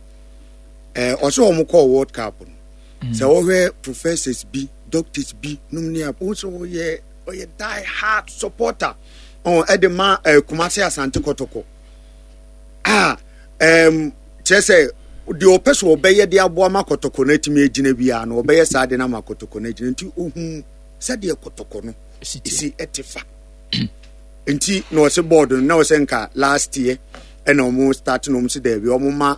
ɛɛ ɔsɛ wɔn kɔɔ World Cup no sɛ wɔhwɛ professors bi doctors bi nom ne a wɔn sɛ wɔyɛ ɔyɛ die hard supporter ɔn ɛde ma ɛɛ Kumasi Asante Kɔtɔkɔ a ɛɛm kyerɛ sɛ deɛ ɔpɛ so ɔbɛyɛ de aboa ma kɔtɔkɔ no atumi agyina biara no ɔbɛyɛ saa de no ama kɔtɔkɔ no agyina nti ohun sɛdeɛ kɔtɔkɔ no esi ɛte fa nti na ɔsɛ board no na ɔsɛ nka last year ɛna ɔmo start na ɔmo si dɛbi ɔmo ma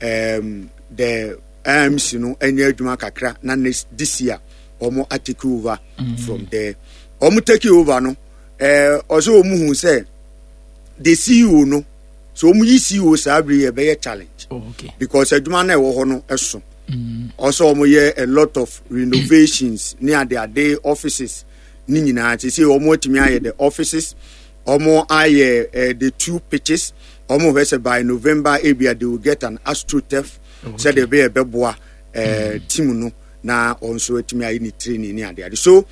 ɛɛm the M C no ɛnyɛ adwuma kakra na next this year ɔmo take over mm. from there ɔmo take over no ɛɛ ɔsɛ wɔn hu sɛ the C E O no, so wɔn yi C E O saa bere yɛ bɛyɛ challenge. Oh, okay. Because adwuma no a ɛwɔ hɔ no ɛso. Ɔsɛ wɔn yɛ a lot of renovations ne adeade, offices ne nyinaa te sɛ wɔn atumi ayɛ the offices, wɔn ayɛ uh, the two pitches. Wɔn hwɛ sɛ by November ebia they will get an astroturf sɛdeɛ ɛbɛyɛ ɛbɛboa uh, team no na wɔn nso atumi ayɛ ne training ne adeade. So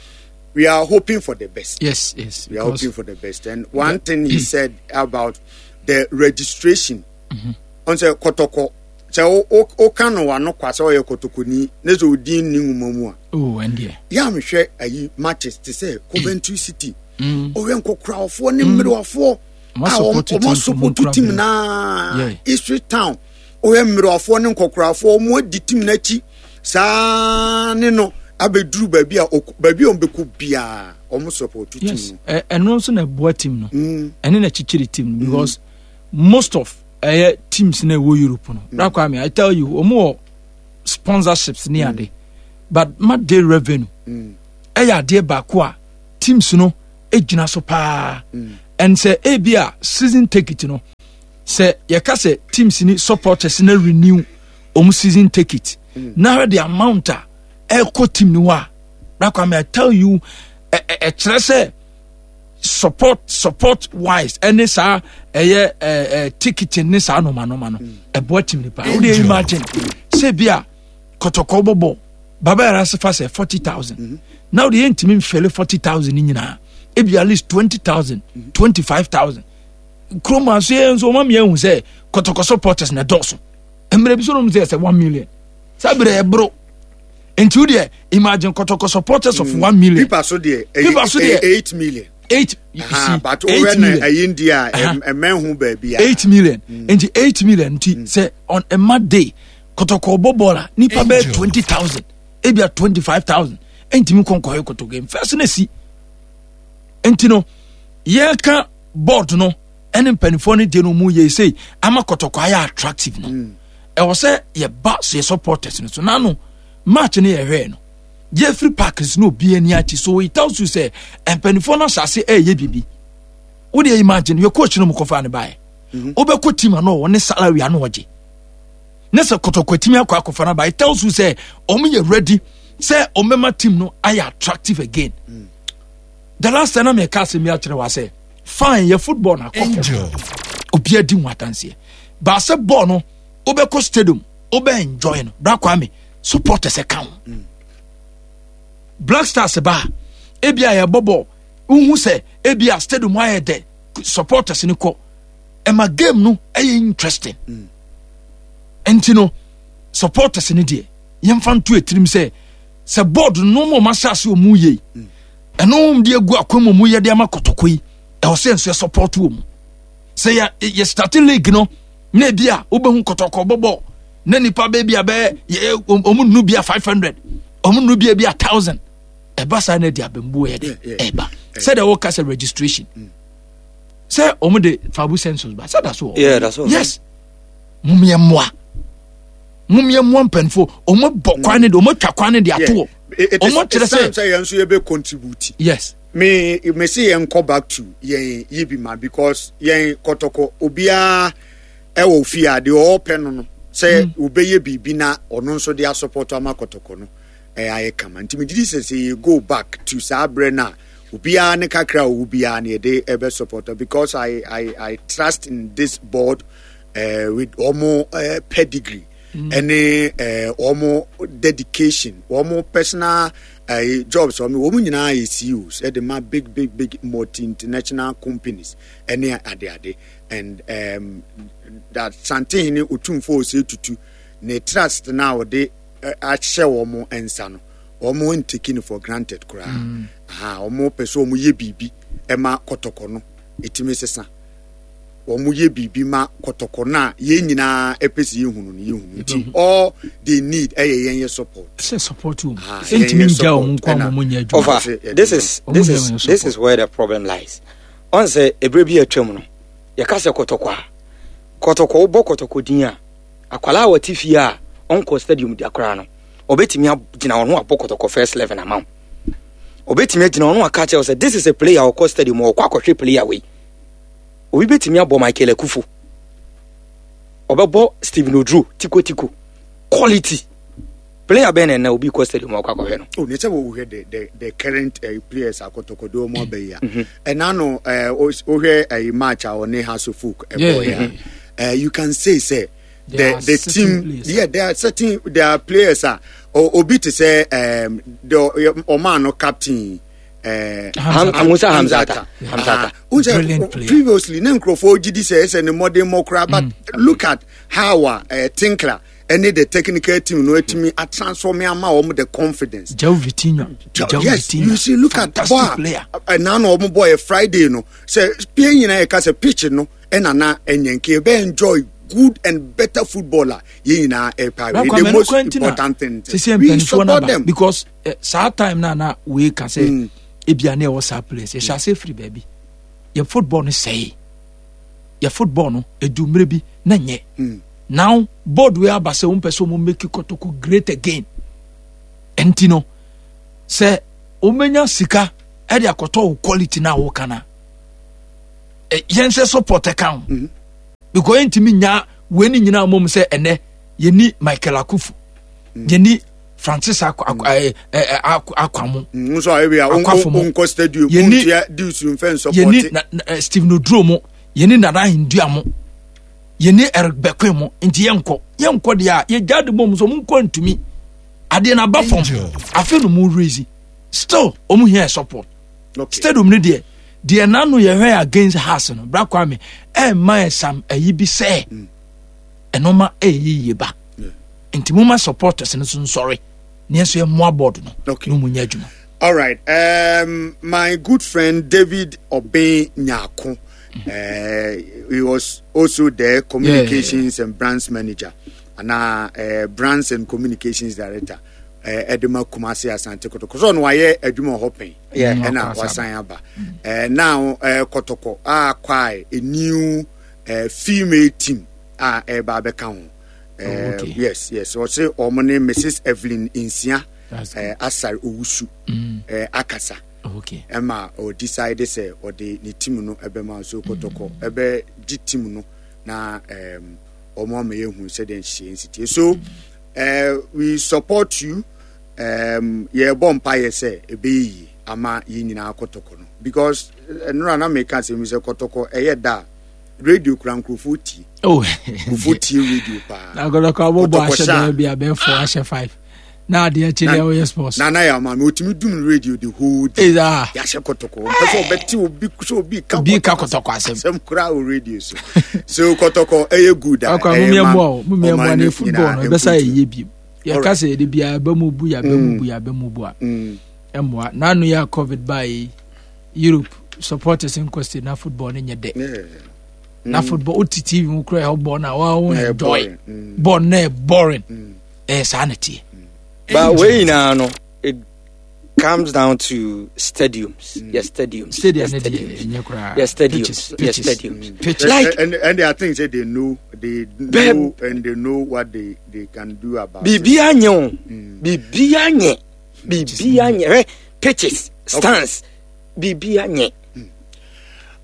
we are hoping for the best. Yes, yes. We are hoping for the best. And one thing he said about the registration, ɔn sɛ Kɔtɔkɔ, sɛ woka no wano kwa sɛ ɔyɛ Kɔtɔkɔni ne sɛ odin ni nwoma mu a, Oh, ɛndeɛ. Yɛ a mehwɛ ayi matches te sɛ Coventry City, ɔhwɛ nkɔkorafoɔ ne mmerewafoɔ a ɔmo support team naa. Ipswich Town, ɔhwɛ mmerewafoɔ ne nkɔkorafoɔ, ɔmo adi team n'akyi saa ne no abɛduru baabi a baabi a ɔmo bɛkɔ biara, ɔmo support team yes no. Ɛno nso na ɛboa team no, ɛne na kyikyiri team no, because most of ɛyɛ teams na ɛwɔ Europe no, mm. Kwame, I tell you, ɔmo wɔ sponsorships ne ade, but match day revenue ɛyɛ adeɛ baako a teams no gyina so paa. And sɛ ebi a season ticket no, sɛ yɛka sɛ teams ni supporters na renew ɔmo season ticket na hwɛ the amount a ɛkɔ team no hɔ a, Bra Kwame, I tell you, ɛkyerɛ sɛ support support wise ɛne saa ɛyɛ ɛɛ ɛɛ ticketing ne saa nɔɔma nɔɔma no ɛboa team nipa. O de imagine sɛ bi a Kɔtɔkɔ bɔbɔ Baba Yara se fa sɛ forty thousand na o de yɛn ntumi nfɛlɛ forty thousand ne nyinaa, ebi at least twenty thousand, twenty five thousand. Kurom aso yɛn nso wɔn amia ehu sɛ Kɔtɔkɔ supporters na ɛdɔɔso. Mmerɛ bi so nom sɛ ɛsɛ one million saa berɛ ɛboro. Nti o deɛ imagine Kɔtɔkɔ supporters of mm. one million. Pipa so deɛ pipa so deɛ eight million. Eight, you see, but eight million ɛyi ndi a ɛmɛn ho baabi a. Eight million. Nti eight million nti sɛ on a match day Kɔtɔkɔ bɔ bɔɔl a, nipa bɛyɛ twenty thousand, ebi a twenty five thousand ɛntumi nkɔ nkɔhɛ Kɔtɔ game first na si. Nti no yɛka board no ɛne mpanimfoɔ no deɛ no mu yɛ sei ama Kɔtɔkɔ ayɛ attractive no, ɛwɔ sɛ yɛba so yɛ supporters no so. Nano match no yɛhwɛɛ no, yɛfiri park so na obi ani akyi, so it tells you sɛ mpanimfoɔ no ahyɛ ase ɛyɛ biribi. Wode imagine yɛ coach no mu kɔfa ne baeɛ, wobɛkɔ team ano ɔwɔ ne salary ano ɔgye ne sɛ Kɔtɔkɔ atumi akɔ akɔfa no ba, it tells you sɛ ɔmo yɛ ready sɛ ɔmo team no ayɛ attractive again. mm. The last time na mɛka asɛm bi akyerɛ wa sɛ fine, yɛ football na akɔ fam, obi adi ho adanseɛ baasɛ bɔɔl no, wobɛkɔ stadium, wobɛ enjoy no. Bra Kwame, supporters ɛka ho. Black Stars ba ebi a yɛbɔ bɔɔl, wohu sɛ ebi a stadium ayɛ dɛ, supporters ni kɔ, ɛma game no ɛyɛ interesting. mm. Nti no supporters ni deɛ, yɛmfa nto etirim sɛ sɛ board no mu ɔmo ahyɛ ase ɔmo yie, ɛno de agu akwan mu ɔmo yɛ de ama Kɔtɔkɔ yi, ɛwɔ sɛ nso yɛ support wɔ mu sɛ yɛ yɛ start league no na ebi a wobɛhu Kɔtɔkɔ bɔbɔ na nipa bɛɛ bi a bɛyɛ yɛ ɔmo nnu bi a five hundred, ɔmo nnu bi a bi a thousand. Ɛba saa na ɛde abɛnbuo yɛ de ɛba sɛdeɛ wɔka sɛ registration sɛ ɔmo de fabu census ba sɛ da so wɔ. Yeah, that's all. Yes, mo yɛ mmoa, mo yɛ mmoa mpanyinfoɔ, ɔmo bɔ kwan ne de, ɔmo atwa kwan ne de ato hɔ, ɔmo kyerɛ sɛ sɛ yɛn nso yɛbɛ contribute. Yes. Me me se yɛn kɔ back to yɛn yi bi ma, because yɛn Kɔtɔkɔ obiara ɛwɔ fie a deɛ ɔɔpɛ no no sɛ obɛyɛ biribi na ɔno nso de asupport ama Kɔtɔkɔ no ɛyɛ ayɛ kama. Nti megye di sɛ sɛ yɛ go back to saa berɛ no a, obiara ne kakra a ɔwɔ biara ne yɛde ɛbɛ support, because I, I, I trust in this board uh, with ɔmo uh, pedigree ɛne uh, ɔmo dedication, ɔmo personal uh, jobs. Ɔmo wɔn nyinaa yɛ C E Os ɛde ma big big big multi international companies ɛne adeade. And um, that Santehene Otumfo Osei Tutu ne trust na ɔde ahyɛ wɔn nsa no, wɔn ntake no for granted koraa. Aha wɔn pɛ sɛ wɔn yɛ biribi ɛma Kɔtɔkɔ no etimi sesa. Wɔn yɛ biribi ma Kɔtɔkɔ no a yɛn nyinaa ɛpɛ sɛ yɛhunu no, yɛhunu. Nti all they need ɛyɛ yɛn yɛ support. Sɛ support wɔn, ɛntumi ngya wɔn nkɔ ama wɔn nyɛ adwuma. Over, this is this is this is where the problem lies. Ɔn sɛ ebere bi atwam no, yɛka sɛ Kɔtɔkɔ a, Kɔtɔkɔ, wobɔ Kɔtɔkɔ din a, akwalaa a wɔte fie a ɔnkɔ stadium da koraa no, ɔbɛtumi agyina wɔn ho abɔ Kɔtɔkɔ first eleven ama wo. Obetumi agyina ɔno aka kyerɛ sɛ this is a player ɔkɔ stadium ɔkɔ akɔhwɛ player wei. Obi betumi abɔ Michael Akufo. Ɔbɛbɔ Steven Oduro tiko tiko. Quality. Player bɛn na ɛnɛ obi kɔ stadium ɔkɔ akɔhwɛ no. Oh, ne sɛ wɔhwɛ the the the current uh, players akɔtɔkɔdo ɔmo abɛyi a. Ɛna no wohwɛ ɛyi match a ɔne Hearts of Oak ɛbɔ yɛ a. You can say say the the team players. Yeah, there are certain there are players a obi te sɛ um, the ɔmaa no captain. Uh, Musa Hamzata. Hamzata. Uh, previously, ne nkurɔfoɔ gyi di sɛ ɛsɛ ne mmɔden mmɔ koraa, but mm. look at how uh, Tinkler ɛne the technical team no etimi a transform ama wɔn the confidence. Joe Vitinha. Joe yes, Vitinha. You see, look at fantastic player. Ɛna na wɔn bɔ yɛ Friday no sɛ pie nyinaa yɛ ka sɛ pitch no ɛna na ɛnyɛ nke ebe enjoy good and better footballer yɛn nyinaa ɛpa. The most important thing. We support them because uh, saa time na na wei ka sɛ ebia na ɛwɔ saa players yɛhyɛ ase firi baabi yɛ football no sɛe yɛ football no edu mmerɛ bi na nyɛ. Now board wei aba sɛ wɔn pɛ sɛ wɔn make Kotoko great again nti no sɛ wɔn bɛnya sika ɛde akɔtɔ wo quality na wɔka na yɛn sɛ support ɛka ho because yɛntumi nya wei ne nyinaa mom sɛ ɛnɛ yɛni Michael Akufo yɛni Francis Akwamu Akwafo mo yɛni yɛni Stephen Oduro mo yɛni Nana Ahindua mo yɛni Eric Bekwe mo nti yɛnkɔ yɛnkɔ deɛ a yɛgya de bom so monkɔ ntumi adeɛ no aba fam afei no mo raise still ɔmo hia support. Okay. Stadium no deɛ deɛ n'ano yɛhwɛ against Hearts no Bra Kwame ɛmma yɛ sam ayi bi sɛ ɛnoma ɛyɛ yie ba nti mo ma supporters no so nsɔre ne nso yɛ mmoa board no okay. No mu nyɛ adwuma. All right, um, my good friend David Obeng Nyako, uh, he was also the communications yeah. and brands manager and uh, uh, brands and communications director. Edema Kumasi Asante Kotoko. So no wayɛ adwuma hɔ pɛn. Ɛna wasan aba. Now Kotoko acquire a new uh, female team a ɛba abɛka ho. Okay. Yes, yes. Ɔse ɔmo ne Missus Evelyn Nsia Asare Owusu akasa. Okay. Ɛma o decide sɛ ɔde ne team no ɛbɛma so Kotoko ɛbɛ gye team no na ɔmo ama yɛhu sɛdeɛ nhyehyɛ nsitie. So Uh, we support you. Um, yeah, bomb pie say be ama yinina Kotoko no because nora na me ka say me say Kotoko eye da radio kura nkrofo ti. Oh, nkrofo ti radio pa. Na Kotoko abobo ahye da bi abe four ahye five. Na ade akyi le oyɛ sports. Na na ya ma me otimi dum radio the whole day. Eh ya hye Kotoko. Mpɛ so obeti obi so obi ka obi ka Kotoko asem. Asem kura o radio so. So Kotoko eye good. Akwa mu me mo mu me mo na football no ebesa ye bi. Ye ka se de bia ba mu bu ya ba mu bu ya ba mu bu a. Emwa na no ya COVID by Europe supporters in question na football no nye de. Na football o T V mu kura e ball na wa wo enjoy. Ball na boring. Eh sanity. But we na no it comes down to stadiums. Mm. Yes, stadiums. Stadium, yes, stadiums. Yes, stadiums. Yes, stadiums. Pitches. Like, and, and, and I think they know, they know, and they know what they, they can do about Bibi it. Bibi anye, bibi anye, pitches, stands, bibi anye.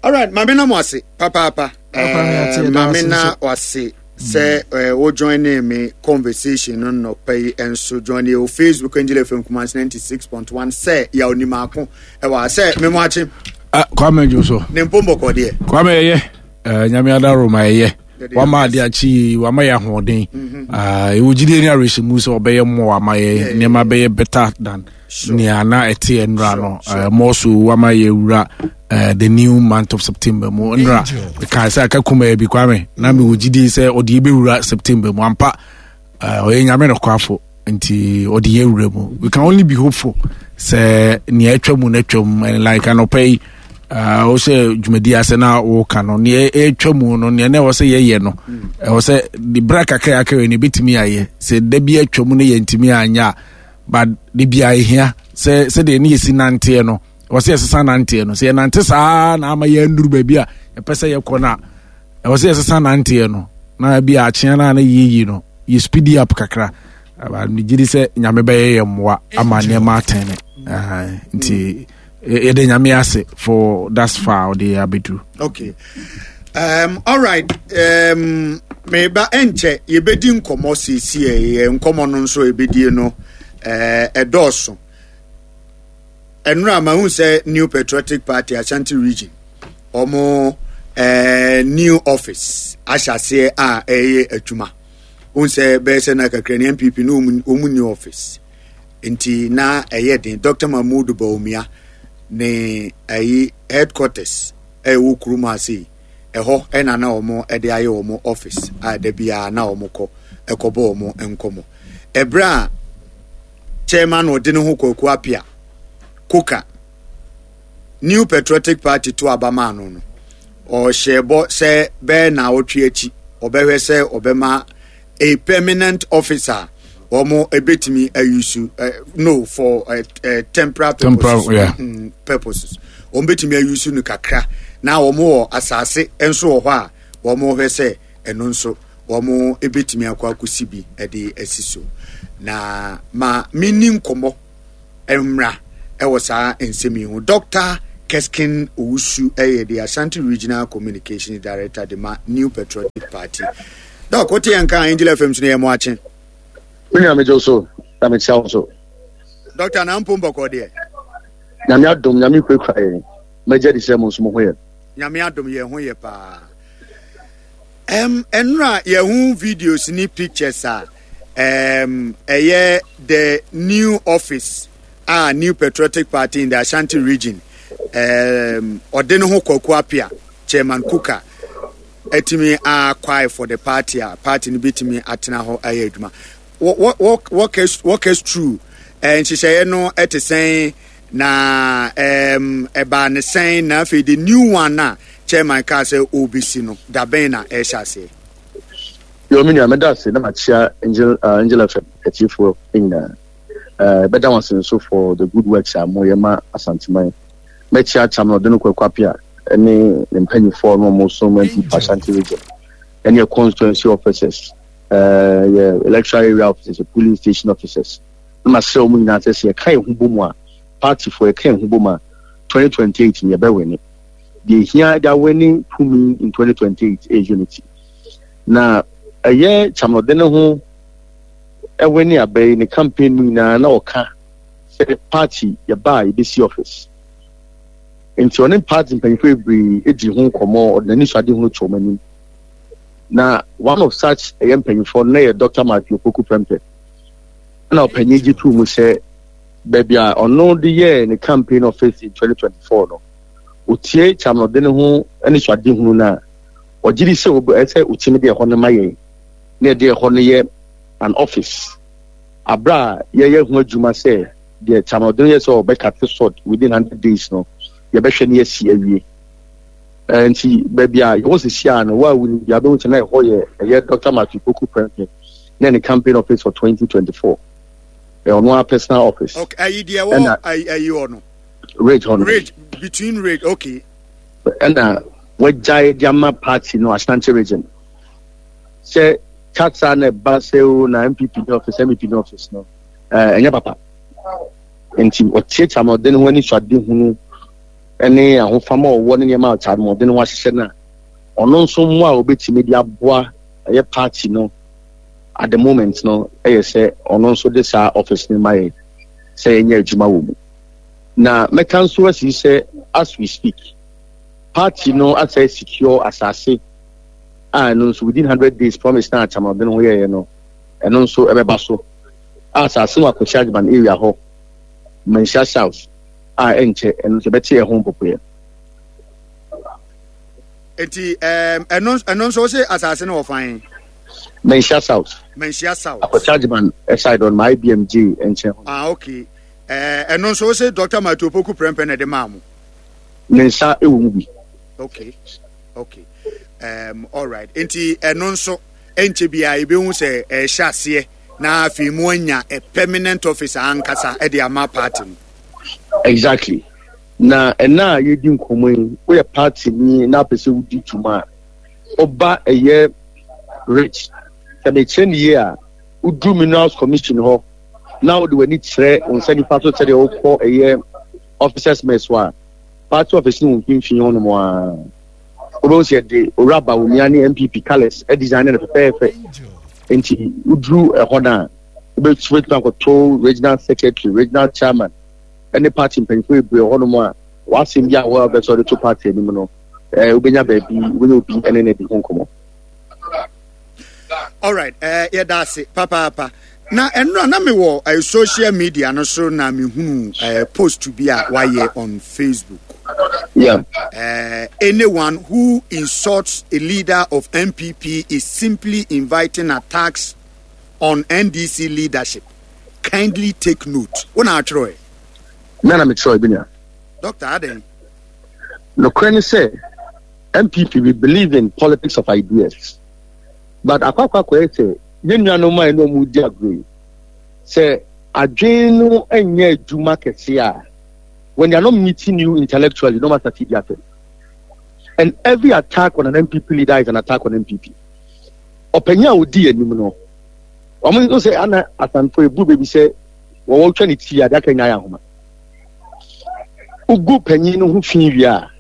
All right, Mamina Mwasi, Papa, Papa, Mamina Wasi. Say, uh, join me conversation no pay and so join your Facebook Angel F M Kumasi ninety-six point one. Say, ya onimako. Ewa say me mwachi. Ah, Kwame Joso. Ne mpombo kodie. Kwame ye. Eh, nyame adaro ma ye. Wama ade achi, wama ya hoden. Ah, e wogide ni arehemu so obeye mo ama ye, nema beye better than ni ana ete enra no. More so wama ye wura the new month of September mo nra ka say aka kuma bi Kwame na me wogide say odi be wura September mo ampa oye nyame no kwafo nti odi ye wura mu. We can only be hopeful say ni atwa mu na atwa and like an opay uh o say dwumadi ase na wo ka no ne atwa mu no ne na wo say ye ye no e wo say the break aka aka ne betimi aye say da bi atwa mu no ye ntimi anya but de bia ehia say say de ne yesi nante no wo say sesa nante no say nante saa na ama ye nduru ba bi a e pese ye kɔ na e wo say sesa nante no na bi a kyea na na yiyi no ye speed up kakra Megye di sɛ Nyame bɛyɛ yɛ mmoa ama nneɛma atɛne, nti yɛde Nyame ase for thus far ɔde yɛ abɛduru. Okay, um, all right, um, meba ɛnkyɛ yɛbɛdi nkɔmmɔ siesie. Yɛ nkɔmmɔ no nso yɛbɛdie no, ɛdɔɔso. Ɛnora mahu sɛ New Patriotic Party Ashanti Region ɔmo eh, new office ahyɛ aseɛ a ɛyɛ adwuma. Wohu sɛ bɛyɛ sɛ na kakra ne N P P ne ɔmu new office, nti na ɛyɛ den. Doctor Mahmood Bawumia ne ɛyi headquarters ɛwɔ kurom ase yi, ɛhɔ ɛna na wɔn ɛde ayɛ wɔn office a da biara na wɔn kɔ ɛkɔbɔ wɔn nkɔmɔ. Ɛberɛ a chairman ɔde ne ho Kwaku Apia Koka New Patriotic Party to aba maa no no, ɔhyɛ bɔ sɛ bɛyɛ na ɔtwe akyi ɔbɛhwɛ sɛ ɔbɛma a permanent officer wɔn ebetumi ayusu, uh, no, for uh, uh, temporary purposes. Temporary, yeah. mm, purposes wɔn betumi ayusu no kakra, na wɔn wɔ asase nso wɔ hɔ a wɔn hwɛ sɛ ɛno nso wɔn ebetumi akɔ akɔsi bi ɛde asi so. Na ma mini nkɔmɔ mmra ɛwɔ saa nsɛm yi ho. Doctor Keskin Owusu ɛyɛ the Ashanti Regional Communications Director de ma New Patriotic Party. Doc, wote yɛn ka Angel F M so no, yɛ mo akye. Me nua, megye wo so na mekyia wo so. Doctor, na mpom bɔkɔ deɛ? Nyame adom, Nyame kurakura yɛn. Mɛgye di sɛ mo nso mo ho yɛ. Nyame adom, yɛn ho yɛ paa. um, ɛnora yɛho videos ne pictures a um, ɛyɛ the new office a New Patriotic Party in the Ashanti Region, um, ɔde ne ho Kwaku Apia, Chairman Kuka, atumi acquire for the party a party no bɛtumi atena hɔ ayɛ adwuma. Walk, walk, us, walk us through nhyehyɛeɛ no ɛte sɛn na um, ɛbaa ne sɛn, na afei the new one a chairman kaa sɛ ɔrebɛsi no, da bɛn na ɛhyɛ aseɛ? Yo, me nua, mɛda ase na makyia Angel, uh, Angel F M atiefoɔ nyinaa. uh, bɛda wɔn ase nso for the good works a moyɛ ma Asanteman. Mɛkyia Kyam na ɔde no Kwaku Apia ne ne mpanyinfoɔ no ɔmo som N P P Ashanti Region ɛne yɛ constituency officers, uh, yɛ electoral area officers, yɛ polling station officers, na masrɛ wɔn nyinaa sɛ sɛ yɛka yɛn ho bɔ mu a, partyfoɔ yɛka yɛn ho bɔ mu a, twenty twenty-eight no yɛbɛwin. Deɛ ehia de awin tumi in twenty twenty-eight ɛyɛ unity. Na ɛyɛ Kyamnɔde ne ho ɛwin aba yi, ne campaign mu nyinaa na ɔka sɛ party yɛba a yɛbɛsi office, nti ɔne party mpanyinfoɔ bebree edi ho nkɔmɔ, ɔde n'ani so ade ho to wɔn anim. Na one of such ɛyɛ mpanyinfoɔ no na yɛ Doctor Matthew Opoku Prempeh, ɛna ɔpanyin gye tuu mu sɛ baabi a ɔno de yɛɛ ne campaign office in twenty twenty-four no, otie Kyamnɔde ne ho ne so ade hunu no a, ɔgye di sɛ ɛsɛ otimi de ɛhɔ no ma yɛn na yɛde ɛhɔ no yɛ an office abira a yɛyɛ ho adwuma sɛ deɛ Kyamnɔde no yɛ sɛ ɔbɛcut sod within hundred days no, yɛbɛhwɛ ne yɛsi awie. Ɛɛ nti baabi a yɛwɔ sisi a no, wa wuni bi abɛhu sɛ na ɛhɔ yɛ ɛyɛ Doctor Matthew Poku Prempeh na ne campaign office for twenty twenty-four, ɛyɛ ɔno ara personal office. Okay, ayi deɛ wɔ ayi ayi hɔ no? Ridge hɔ no. Ridge, between Ridge, okay. Ɛna wagyae de ama party no Ashanti Region sɛ kasa na ɛba sɛ o na N P P ne office, M P ne office no, ɛɛ ɛnyɛ papa. Nti ɔtie Kyamɔden ne ho ani so ade hunu ne ahofama a ɔwɔ ne nneɛma a Kyamɔden ne ho ahyehyɛ no a, ɔno nso mmoa a obetumi de aboa ɛyɛ party no at the moment no ɛyɛ sɛ ɔno nso de saa office no ma yɛn sɛ yɛnyɛ adwuma wɔ mu. Na mɛka nso asi sɛ as we speak, party no asɛ secure asase a ɛno nso within hundred days promise na Akyamɔden ho yɛyɛ no, ɛno nso ɛbɛba so a asase no akɔhyɛ Agyeman area hɔ, Manhyia South, a ɛnkyɛ ɛno nso ɛbɛte ɛho mpopoeɛ. Nti ɛno ɛno nso wose asase no wɔ fan? Manhyia South. Manhyia South. Akɔhyɛ Agyeman side on ma I B M G nkyɛn hɔ. Ah, okay. Ɛno nso wose Doctor Matthew Opoku Prempeh na ɛde maa mo? Ne nsa ɛwɔ mu bi. okay okay um, all right. Nti ɛno nso ɛnkyɛ biara yɛbɛhu sɛ ɛhyɛ aseɛ na afei mu anya a permanent office ankasa ɛde ama party no. Exactly. Na ɛna a yɛdi nkɔmmɔ yi, woyɛ party ni na apɛ sɛ wodi dwuma a, ɔba ɛyɛ Rich sɛ mekyerɛ ne yie a Woduru Minerals Commission hɔ na wode w'ani kyerɛ wo nsa nifa so sɛdeɛ wokɔ ɛyɛ officers mess hɔ a, party office no wɔ mfimfini hɔnom a, wobɛhu sɛ yɛde Owura Bawumia ne N P P colours design no fɛfɛɛfɛ. Nti woduru ɛhɔ no a, wobɛtumi akɔto regional secretary, regional chairman ne party mpanyinfoɔ bebree wɔ hɔnom a, w'asɛm bi a wɔabɛ sɛ ɔde to party anim no, ɛɛ wobɛnya baabi, wobɛnya obi ne no adi ho nkɔmmɔ. Alright, uh, yɛda ase papaapa. Na ɛnora na mewɔ uh, social media no so na mehunu uh, post bi a wayɛ on Facebook. Yeah. Uh, anyone who insults a leader of N P P is simply inviting attacks on N D C leadership. Kindly take note. Wo na atwerɛ ɛ? Me na metwerɛ bi nua. Doctor, adɛn? Nokorɛ ne sɛ N P P, we believe in politics of ideas, but akɔ akɔ akɔyɛ sɛ yɛn nuanom a ɛne ɔmo di agorɔ yi sɛ adwene no nyɛ adwuma kɛse a, when they are not meeting you intellectually, no matter ti di atɛm. And every attack on an N P P leader is an attack on N P P. Ɔpanyin a odi anim no, wɔn nso sɛ ana Asanfo ebu beebi sɛ wɔwɔ twa ne ti ade aka nyinaa yɛ ahoma. Ugu panyin no ho fi wie a,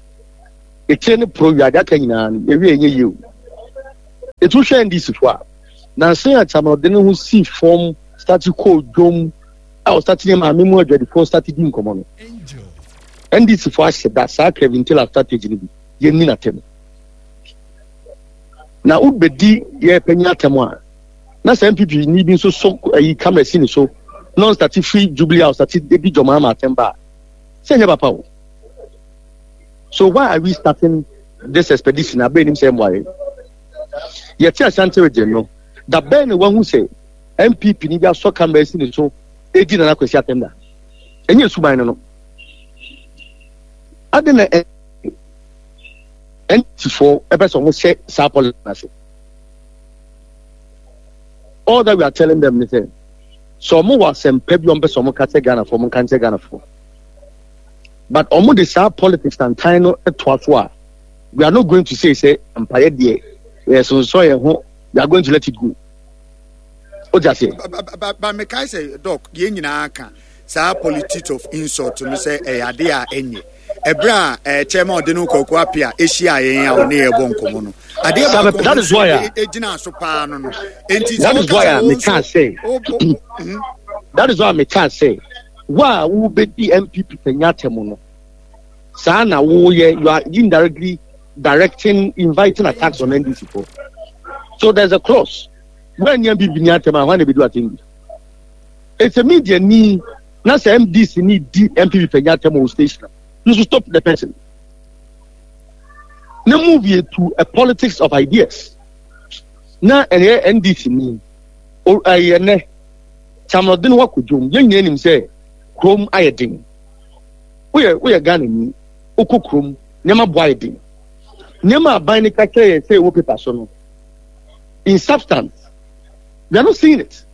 etire ne poro wie ade aka nyinaa no ewie enye yie o. Etu hwɛ N D C fo a, nansan a Chairman ɔde ne ho si fam start kɔɔ dwom a, ɔstart ne maame mu adwadifoɔ start di nkɔmɔ no, N D C fo ahyɛ da saa Kevin Taylor strategy no bi yɛnni n'atɛm. Na wobɛdi yɛ panyin atɛm a, na sɛ N P P ni bi nso so ayi camera si ne so na ɔstart firi Jubilee House start di dwom ama atɛm ba a, sɛ nyɛ papa o. So why are we starting this expedition? Abɛn nim sɛ mmoa yɛ yɛte Ashanti Region no da bɛn na wahu sɛ N P P ni bi asɔ camera si ne so edi Nana Kwesi atɛm da? Ɛnyɛ suban no no ade na N D C foɔ ɛpɛ sɛ ɔmo hyɛ saa policy na ase. All that we are telling them ni sɛ sɛ ɔmo wɔ asɛmpa bi a ɔmo pɛ sɛ ɔmo ka kyerɛ Ghana foɔ, ɔmo nka nkyerɛ Ghana foɔ, but ɔmo de saa politics tantan no toa so a, we are not going to say sɛ mpaeɛ deɛ yɛ sonsɔn yɛn ho. We are going to let it go. O ti aseɛ? Ba ba mekae sɛ, Doc, yɛn nyinaa ka saa politics of insult no sɛ ɛyɛ ade a ɛnyɛ. Ɛberɛ a chairman ɔde no Kwaku Apia ahyia yɛn a ɔne yɛ bɔ nkɔmmɔ no, adeɛ baako That is why a ɛgyina so paa no no enti That is why a meka sɛ, that is why meka sɛ wo a wobɛdi N P P panya atɛm no, saa na woyɛ, you are indirectly directing, inviting attacks on N D C fo. So there's a clause when N P P ni atɛm a, hwan na ebedu atɛm bi? It's a media ni na sɛ N D C ni di N P P panya atɛm wɔ station, you should stop the person na move you to a politics of ideas. Na ɛyɛ N D C ni ɛyɛ nɛ Chairman wakɔ dwom, yɛn nyinaa nim sɛ kurom ayɛ den. Woyɛ woyɛ Ghana ni, wokɔ kurom, nneɛma bo ayɛ den. Nneɛma aban ne ka kyerɛ yɛn sɛ ɛwɔ paper so no, in substance we are not seeing it.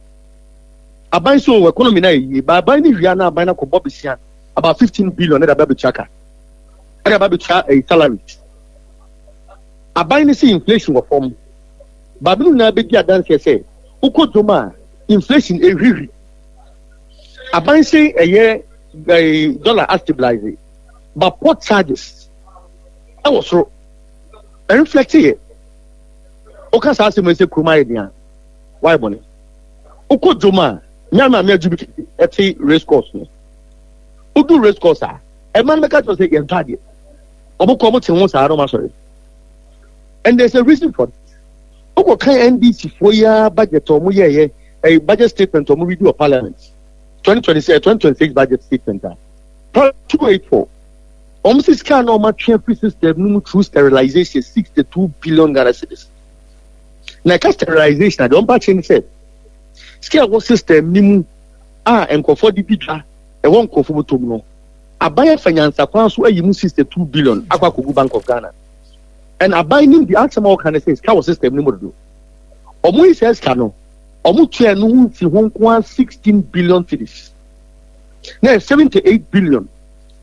Aban so wɔ economy na yɛ yie ba, aban ne wia na aban na kɔ bɔ besia about fifteen billion ɛde aba abɛtua ka, ɛde aba abɛtua ɛyɛ salaries. Aban ne sɛ inflation wɔ fam, baabi no nyinaa bɛdi adanseɛ sɛ wokɔ dwom a, inflation ehwihwi. Aban sɛ ɛyɛ ɛɛ dollar astabilize, but port charges ɛwɔ soro, ɛreflect yɛ. Woka saa asɛm sɛ kurom ayɛ den a, wayɛ bɔne. Wokɔ dwom a, nyame maame adwu bi ɛte race course no, wodu race course a, ɛma no bɛka kyerɛ sɛ yɛntɔ adeɛ. Ɔmo kɔ, ɔmo te ho saa na ɔmo asɔre, and there is a reason for it. Wokɔ kan N D C foɔ yi ara budget a ɔmo yɛɛyɛ, ɛyɛ budget statement a ɔmo read wɔ parliament, twenty twenty six, twenty twenty six budget statement a two eight four, ɔmo sɛ sika na ɔmo atwe afiri system no mu through sterilization, sixty two billion Ghana cedis. Na ɛka sterilization a, deɛ ɔmo pa kyerɛ ne sɛ sika ɛwɔ system no mu a nkurɔfoɔ de di dwa, ɛwɔ nkurɔfoɔ bɔtɔm no, aban afa nyansakwan so ayi mu sixty two billion akɔ akɔgu Bank of Ghana. And aban nim di asɛm a ɔka ne sɛ sika wɔ system no mu dodo. Ɔmo yi sɛ sika no ɔmo tua no ho nsi ho nko a sixteen billion cedis na yɛ seventy eight billion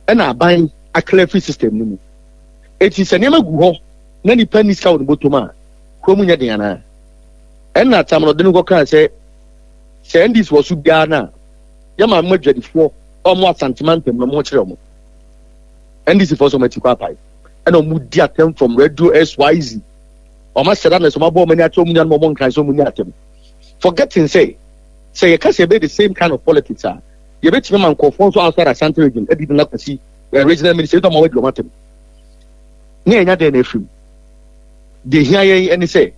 ɛna aban aclear firi system no mu. Eti sɛ nneɛma gu hɔ na nipa ni sika wɔ ne bɔtɔm a, kurom nyɛ den anaa? Ɛna tam no ɔde no kɔkaa sɛ Sɛ N D C wɔ so biara no a, yɛma mo adwadifoɔ a ɔmo Asantema ntɛm no, ɔmo ho kyerɛ ɔmo. N D C foɔ sɛ ɔmo akyi kɔ apae, ɛna ɔmo di atɛm from radio X Y Z. Ɔmo ahyɛ da na sɛ ɔmo abɔ ɔmo ani akyɛ ɔmo nuanom, ɔmo nkran sɛ ɔmo ni atɛm, forgetting sɛ sɛ yɛka sɛ yɛbɛyɛ the same kind of politics a, yɛbɛtumi ama nkɔfoɔ nso outside Asante Region ɛdi Nana Kwasi regional minister ɛdi ɔmo awadi ɔmo atɛm ne yɛnya dɛn na efirim. Deɛ hia yɛn ɛne sɛ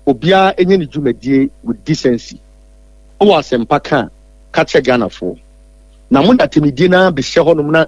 obiara enye ne dwumadie with decency. Ɔwɔ asɛmpa ka ka kyerɛ Ghanafoɔ na mo na atɛmidie naa bɛhyɛ hɔnom na